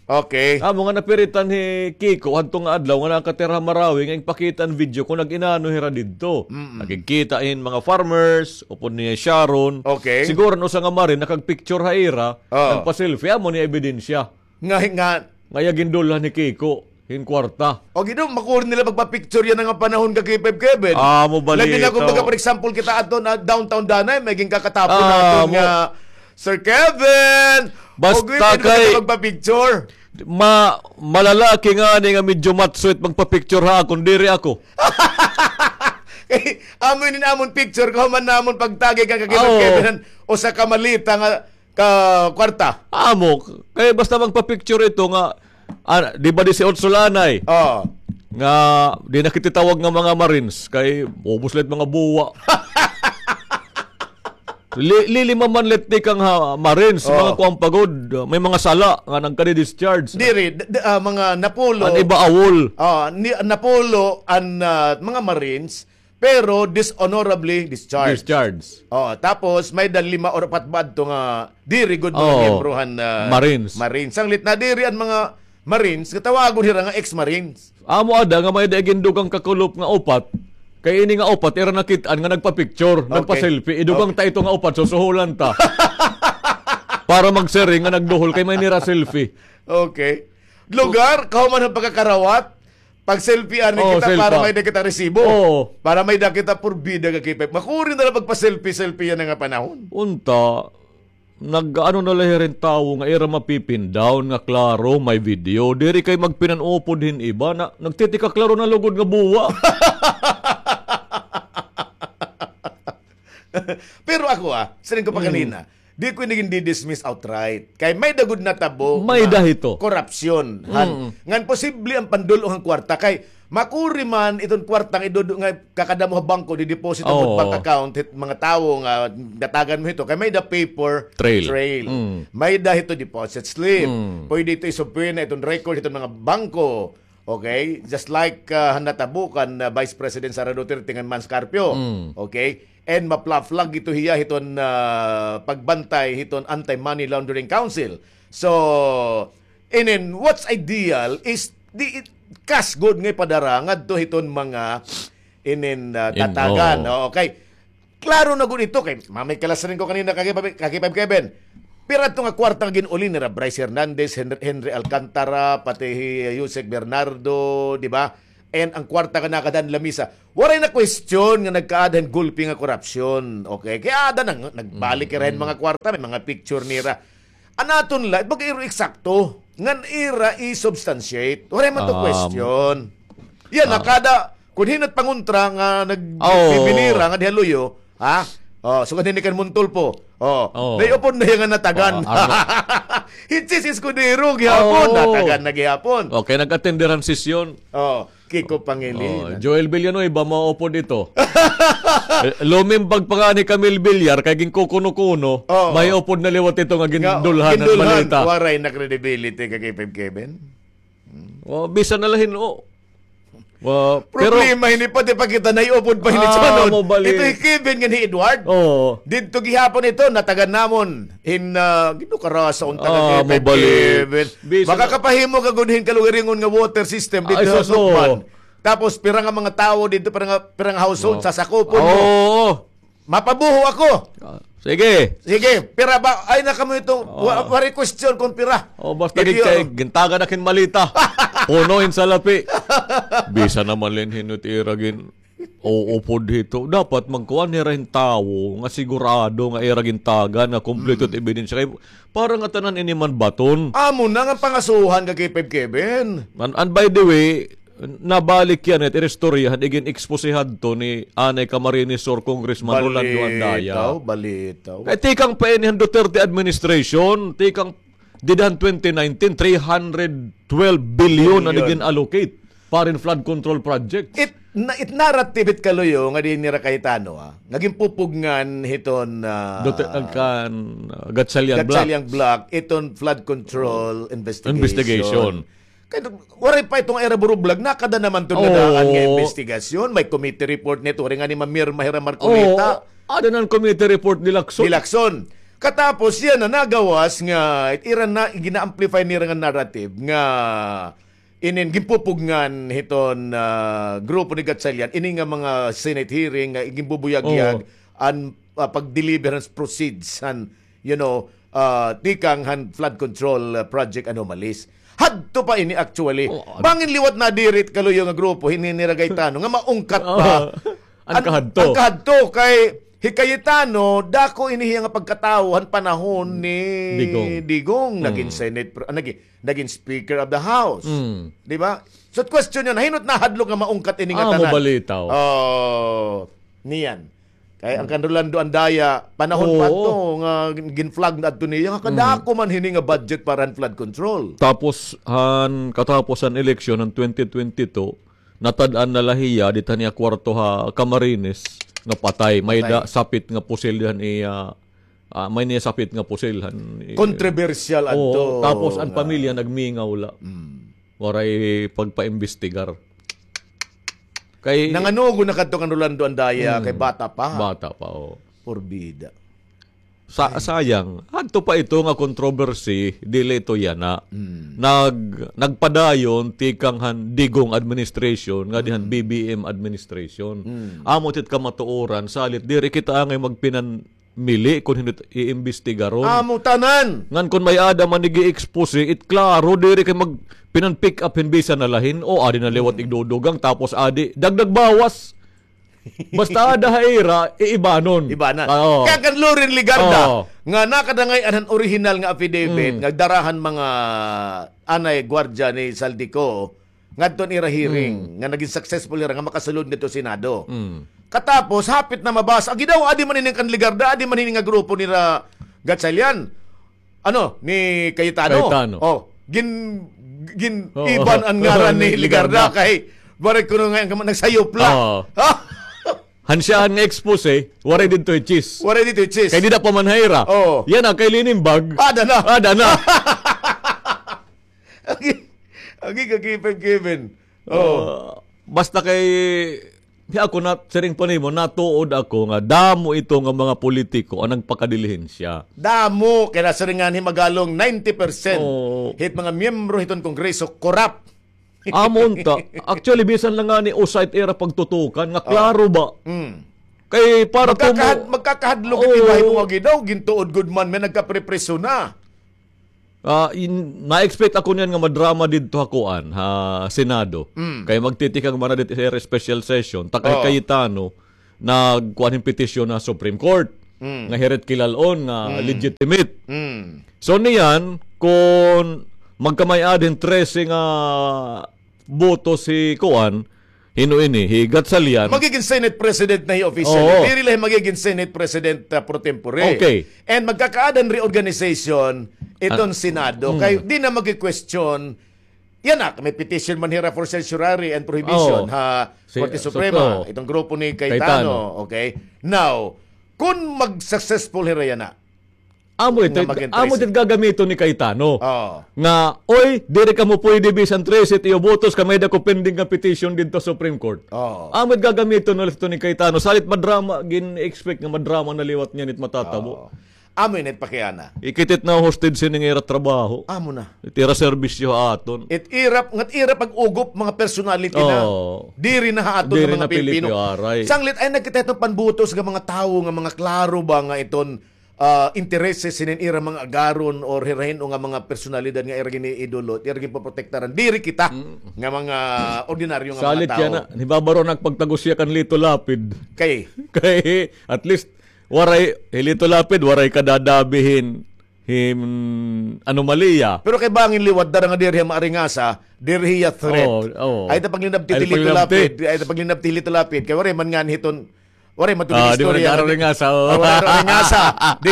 Okay. Amo nga napiritan hi Kiko, hadto nga adlaw nga nakatira ha Marawi, nga ginpakita an video kon nag-inano hira didto. Nakigkita hin mga farmers, upod niya hi Sharon. Okay. Siguro an usa nga Marine, nakagpicture ha ira, nagpa-selfie, amo ni ebidensya. Nga, nga. Nga iya gindulhan hi Kiko hin kwarta. O, gid, makuri nila magpa-picture yana nga panahon ka, K five Kevin. Ah, mo balito. Labi na kung baga, for example, kita adto na downtown danay, may ginkakatapon naton nga, "Sir Kevin, basta kay magpa-picture." Ma-, malalaki ngani nga medyo matsuit magpa-picture ha akon, diri ako. Kay, amo ini amon picture, kahuman namon pagtagi ka, K five Kevin, usa ka malita nga ka kwarta. Amo, kay basta magpa-picture ito nga, ah, di ba di si Otso Lanay? Oo. Nga, di na kita tawag nga mga Marines, kay ubos la it mga buwa. Li-, lilima man la it tikang ha Marines, mga kuan pa gud, may mga sala nga nagkadi-discharge. Diri, d-, d-, ah, mga napulo. An iba awol. Ah, ni-, napulo an, ah, mga Marines, pero dishonorably discharged. Discharged. Oh, tapos may-ada lima or upat ba adto nga diri gud mga miyembro han, ah, Marines. Marines. Sanglit na diri an mga Marines, nga tawagon hira nga ex-Marines. Amo ada nga may-ada gindugang kakulop nga upat. Kay ini nga upat, ira nakit-an nga nagpa-picture, nagpa-selfie. Idugang ta ito nga upat, susuhulan ta. Para magsiring nga nagduhol kay may nira selfie. Okay. Lugar, kahuman han pagkakarawat, pag-selfie-an kita para may-ada kita resibo. Oo. Para may-ada kita porbida nga K five. Makuri na la pagpa-selfie-selfie yana nga panahon. Unta, nag-ano na la hira hin tawo nga ira mapipindaon nga klaro, may video. Diri kay magpinan-upod hin iba. Na, nagtitikaklaro na lugod nga buwa. Pero pa ako, ah, siring ko pa kanina, di ko ini gindidismiss outright. Kay may-ada gud natabo nga korupsyon, han. Ngan posible an pandul-ong han kwarta kay makuri man iton kwarta nga idudu-, nga kakadamo ha bangko, dideposit ha bank account hit mga tawo nga natagan mo hito. Kay may-ada paper trail. May-ada hito deposit slip. Pwede ito isubpoy na iton record hiton mga bangko. Okay? Just like, ah, han natabo kan, ah, Vice President Sara Duterte ngan Mans Carpio. Okay? And ma-flag ito hiya hiton, ah, pagbantay hiton Anti-Money Laundering Council. So, and then, what's ideal is di it-, cash gud nga ipadara ngadto hiton mga inin, ah, tatagan. Oo, okay. Klaro na gud ito kay mamay ka la siring ko kanina, Kaki Pab-, Kaki Pab Kevin. Pira ito nga kwarta nga gin-uli nira Bryce Hernandez, Henry, Henry Alcantara, pati hi Usec Bernardo, di ba? And an kwarta nga nakada han lamisa. Waray na question nga nagkaada hin gulpi nga korupsyon. Okay? Kay aada na, nagbalik ira hin mga kwarta, may mga picture nira. An aton la, baga iro eksakto. Ngan ira i-substantiate. Waray man to question. Yan, nakada, kun hin-o it pangontra nga nagbibinira nga diha luyo, ha? Oh, sugad hini kan Montulfo. Oh, naiupod na hiya nga natagan. Hi Chiz Escudero gihapon, natagan na gihapon. Okay, nag-attend han sesyon. Oh, Kiko Pangilinan. Joel Villanueva, maupod ito. Eh, lumimbag pa ngani hi Camille Villar, kay ginkukuno-kuno, may upod na liwat ito nga gindulhan han maleta. Waray na credibility, Kaki Pab Kevin. Oh, bisan na la hin-o. Problema hini, pati pa kita naiupod pa hini sunod. Ito hi Kevin ngan hi Edward. Oo. Didto gihapon ito, natagan namon. Hin, ah, Ginoo karasa unta, Kaki Pab Kevin. Makakapahimo ka gud hin kalugaringon nga water system didto ha Sukban. Tapos pira nga mga tawo didto, pira nga, pira nga household, sasakupon mo. Oo. Mapabuho ako. Ah, sige. Sige, pira ba? Ay, na kamo ito. Wa-, waray question kon pira. Oh, basta gid kay gintagan na hin maleta. Puno hin salapi. Bisan na man la hin-o it ira gin-uupod hito. Dapat magkuan hira hin tawo nga sigurado nga ira gintagan nga kompleto it ebidensya. Kay para nga tanan ini man baton. Amo na nga pangasuhan, Kaki Pab Kevin. And, and by the way, nabalik yana it iristorya han igin-expose hadto ni anay Camarines Sur Congressman Rolando Andaya. Balitaw, balitaw. Kay tikang pa ini han Duterte administration, tikang dida han twenty nineteen, three hundred twelve billion an igin-allocate para hin flood control project. It, na, it narrative it kaluyo nga diin nira kahitano, ah, nga ginpupugngan hiton, ah, Duterte, kan, ah, Gatchalian Block. Gatchalian Block, iton flood control investigation. Kay waray pa iton ira burublag, nakada naman iton nadaan nga imbestigasyon. May committee report nito, waray ngani mamirma hira Marcoleta. Oo, ada na an committee report ni Lacson. Ni Lacson. Katapos yana nagawas nga ira na gina-amplify nira nga narrative nga inin ginpupugngan hiton, ah, grupo ni Gatchalian ini nga mga Senate hearing nga ginbubuyagyag an, ah, pag-deliver han proceeds han, you know, ah, tikang han flood control, ah, project anomalies. Hadto pa ini actually. Bangin liwat nadiri it kaluyo nga grupo, hini nira Cayetano, nga maungkat pa an kahadto. An kahadto kay hi Cayetano, dako ini hiya nga pagkatawo han panahon ni Digong. Digong, nagin Senate, ah, nagin, nagin Speaker of the House. Di ba? So, question yana, hin-o it nahadlok nga maungkat ini nga tanan? Amo balitaw. Oh, niyan. Kay an kan Rolando Andaya, panahon pa to nga gin-, gin-flag na adto niya, nga kadako man hini nga budget para han flood control. Tapos, han, katapos han eleksyon han twenty twenty-two, natad-an na la hiya dida han iya kwarto ha Camarines nga patay. May-ada sapit nga pusil han iya, ah, may-ada sapit nga pusil han i-, kontrobersyal adto. Tapos an pamilya nagmingaw la. Waray pagpaimbestigar. Kay nanganugo na kadto kan Rolando Andaya, kay bata pa. Bata pa, oo. Porbida. Sa-, sayang, hadto pa ito nga controversy, dili ito yana. Nag-, nagpadayon tikang han Digong administration, ngadi han B B M administration. Amo tit kamatuoran, salit diri kita angay magpinan- mili kon hin-o it iimbestigaron. Amo tanan. Ngan kon may-ada man ig-i-expose, it klaro diri kay magpinan-pick up hin bisan na la hin-o, adi na liwat igdudugang, tapos adi, dagdag bawas. Basta ada ha ira, iibanon. Ibanan. Oo. Kay kan Loren Legarda, nga nakadangay-an han orihinal nga affidavit, nga dara han mga anay gwardiya ni Zaldy Co, ngadto han ira hearing, nga nagin successful hira nga makasulod ngadto Senado. Katapos, hapit na mabasa. Agi daw, adi man ini kan Legarda, adi man ini nga grupo nira Gatchalian. Ano, ni Cayetano. Cayetano. Oh, gin, gin, Oo. iban an ngaran ni Legarda kay, waray kuno nga, nagsayop la. Oo. Hansyahan nga expose, waray didto hi Chis. Waray didto hi Chis. Kay dida pa man ha ira. Oo. Yana, kay Linimbag. Ada na. Ada na. Agi, agi ka, Kevin, Kevin. Oo. Ah, basta kay, hi ako na, siring pa nimo, natuod ako nga damo ito nga mga politiko an nagpakadilihensya. Damo, kay nasiring ngani hin Magalong, ninety percent Oo. hit mga miyembro hiton Kongreso, corrupt. Amo unta. Actually, bisan la ngani usa it ira pagtutukan, nga Oo. klaro ba? Mm. Kay para Magkakahad-, tumo- magkakahadlok Oo. it iba hin mga gidaw, gintuod gud man, may nagkaprepriso na. Ah, in, na-expect ako niyan nga madrama didto ha kuan, ha Senado. Mm. Kay magtitikang man na didto sa special session, ta kay Oo. Cayetano, nagkuan hin petisyon ha Supreme Court, Mm. nga hira it kilal-on nga Mm. legitimate. Mm. So niyan, kon magkamay-ada hin trese nga botos hi kuan, hin-o ini, hi Gatchalian. Magigin Senate President na hi officially. Oo. Diri la hi magigin Senate President, ah, pro tempore. Okay. And magkakaada hin reorganization iton Ah, Senado. mm. Kay di na magi-question, yana, may petition man hira for certiorari and prohibition Oo. ha Si-, Korte so, Suprema, oo. itong grupo ni Cayetano, Cayetano. Okay? Now, kung mag-successful hira yana, Amo ito, nga maging amo trese. ito gagamiton ni Cayetano. Oo. Nga, "Oy, diri kamo pwede bisan trese it iyo botos, kay may-ada ko pending nga petition didto sa Supreme Court." Oo. Amo it gagamiton na ito ni Cayetano. Salit madrama, gin-expect nga madrama na liwat niyan it matatabo. Oo. Amo ini it pakiana. Ikitit na hostage sining ira trabaho. Amo na. It ira serbisyo ha aton. It ira, ngat ira pag-ugop, mga personality na. Oo. Diri na ha aton Diri nga mga na Pilipino. Pilipino, aray. Sanglit ay nagkita iton panbutos nga mga tawo, nga mga klaro ba nga iton ah, intereses hinin ira mga agaron or hira hin-o nga mga personalidad nga ira giniidolo, ira ginpoprotektaran. Diri kita Mm. nga mga ordinaryo nga Salit mga yan tao. na. Nibabaro na pagtagos siya kan Lito Lapid. Kay? Kay, at least, waray, hi Lito Lapid, waray kadadabi hin, hin anomalya. Pero kay bangin liwat, dara nga diri hiya maaringasa, diri hiya threat. Oo, oo. Ay, ta paglinabti Ay, hi Lito paglinabti. Lapid, ay, ta paglinabti hi Lito Lapid, kay waray man nga hiton Waray man Ah, di man istorya. Nag-aaringasa, oo. Ah, waray nag-aaringasa. Di,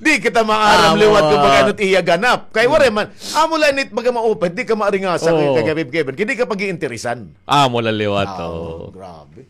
di kita maaram Ah, liwat kung oo. Pag-ano it iya ganap. Kay waray man, amo la ini it baga maupay, di ka maaringasa Oo. kay, kay Kevin, Kevin. Kay di ka pag-iinteresan. Amo la liwat, Ah, oo. Grabe.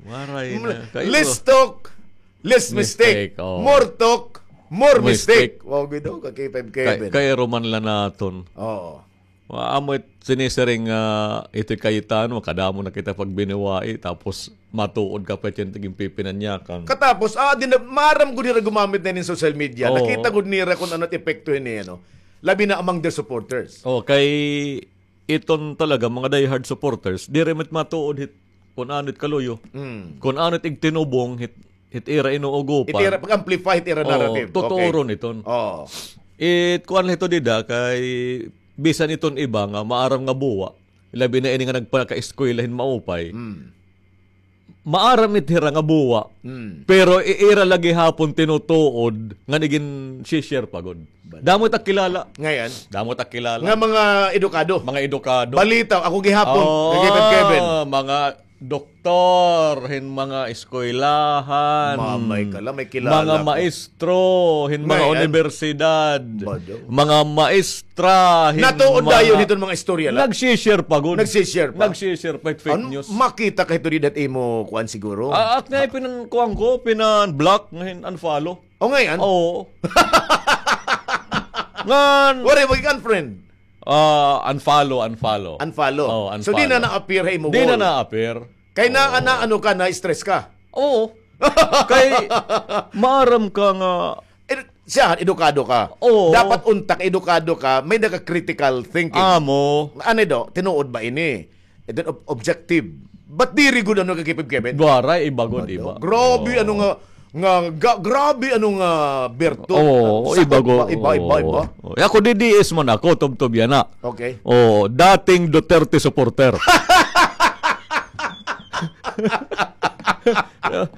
Waray na. Kayo. Less talk, less mistake. Mistake, oo. More talk, more Mistake. mistake. Wow, bido ka, Kevin, Kay, Kevin. Kay Roman la naton. Oo. Wa-, amo it sinisiring nga ito Cayetano, kadamo na kita pagbiniwai, tapos matuod ka pa it ginpipinanyakan. Katapos, ah, di na, maaram gud nira gumamit na nin social media. Oo. Nakita gud nira kung ano it epekto ini, ano. Labi na among their supporters. Oh, kay iton talaga, mga diehard supporters, diri man it matuod hit, kung ano it kaluyo. Mm. Kung ano it igtinubong hit, hit ira inuugopan. It ira, pag-amplify hit ira Oo, narrative. Totoo Okay. ron iton. Oo. It, kuan la ito dida, kay bisan iton iba nga maaram nga buwa, labi na ini nga nagpakaeskwela hin maupay. Mm. Maaram it hira nga buwa, Mm. pero i-, ira la gihapon tinutuod nga nigin-share pa gud. Bala. Damo ta kilala. Ngayon? Damo ta kilala. Nga mga edukado. Mga edukado. Balita, ako gihapon, Oo, kay Kevin Kevin. mga doktor, hin mga eskwelahan. Mamay ka la, may kilala Mga ko. maestro, hin mga Ngayon? unibersidad. Bado. Mga maestra, hin Natuod mga dayon hiton mga istorya la. Nag-share pa gud. Nag-share pa. Nag-share pa, fake Ano, news. Makita ka hito dida it imo kuan siguro? Ah, at nga, pinan-, kuan ko, pinan-block, nga hin-, unfollow. O, ngayon? Oo. Ngan Waray, mag-unfriend. Ah, unfollow, unfollow. Unfollow. Oo, So, di na unfollow. na-appear ha imo Di na wall? na-appear. Kay na, Oo. na, ano ka, na-stress ka? Oo. Kay, maaram ka nga Ed-, siya, edukado ka. Oo. Dapat untak, edukado ka, may naka-critical thinking. Amo. Ano do, tinuod ba ini? Ito ob-, objective. Ba't diri gud ano kay Kevin Kevin? Waray, iba gud, Ano? iba. Grabe, Oo. ano nga, nga, ga-, grabe, ano nga, berto. Oo, Sakop iba gud. ba? Iba, iba, iba. Oo. Eh, ako, D D S man ako, tubtob yana. Okay. Oo, dating Duterte supporter.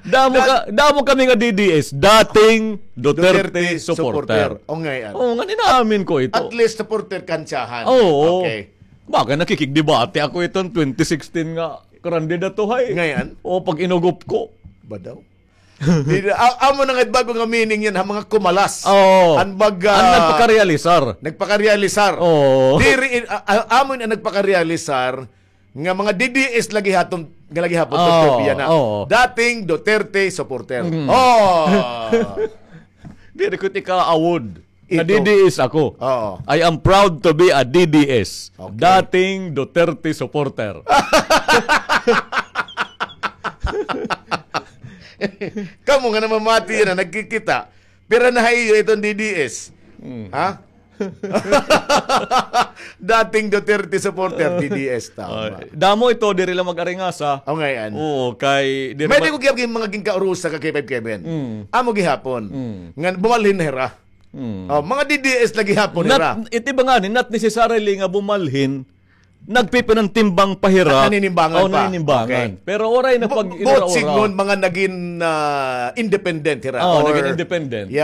Damo ka, damo kami nga D D S, dating Duterte Duterte supporter. supporter. O, ngay-an. Oo, nga, inaamin ko ito. At least supporter ka, ansyahan. Oo. Okay. Baga nakikigdebate ako iton twenty sixteen nga Grande na to, hay. Ngayon? O, pag inugop ko. Ba daw? Di, a-, amo na nga bago nga meaning yan, ha, mga kumalas. Oo. An bag, An ah, nagpakarealisar. Nagpakarealisar. Oo. Diri, in-, a-, a-, amo na nagpakarealisar nga mga D D S lagi haton, nga lagi hapon Oo, Duterte yan, ha. Oo. Dating Duterte supporter. Mm. Oh. Diri ko tika awod. Na Ito. D D S ako. Oo. I am proud to be a D D S. Okay. Dating Duterte supporter. Kamo nga namamati na nagkikita. Pira na ha iyo iton D D S? Hmm. Ha? Dating Duterte supporter, D D S, tama. Oh, damo ito, diri lang mag-aringasa. O, ngayon. Oo, kay, diri May ma- di ko giyab mga ginkaurusa ka K five Kevin. Mm. Amo gihapon. Mm. Nga bumalhin na hira. Mm. Oh, mga D D S lagi hapon Not, hira. Iti ba nga ni, not necessarily nga bumalhin, nagpipinantimbang pa hira. Naninimbangan Oh, pa. Naninimbangan. Okay. Pero oray na Bu-, pag buot inura-ura. Signon, mga naging, ah, independent hira. Oh, Or naging independent. Yeah.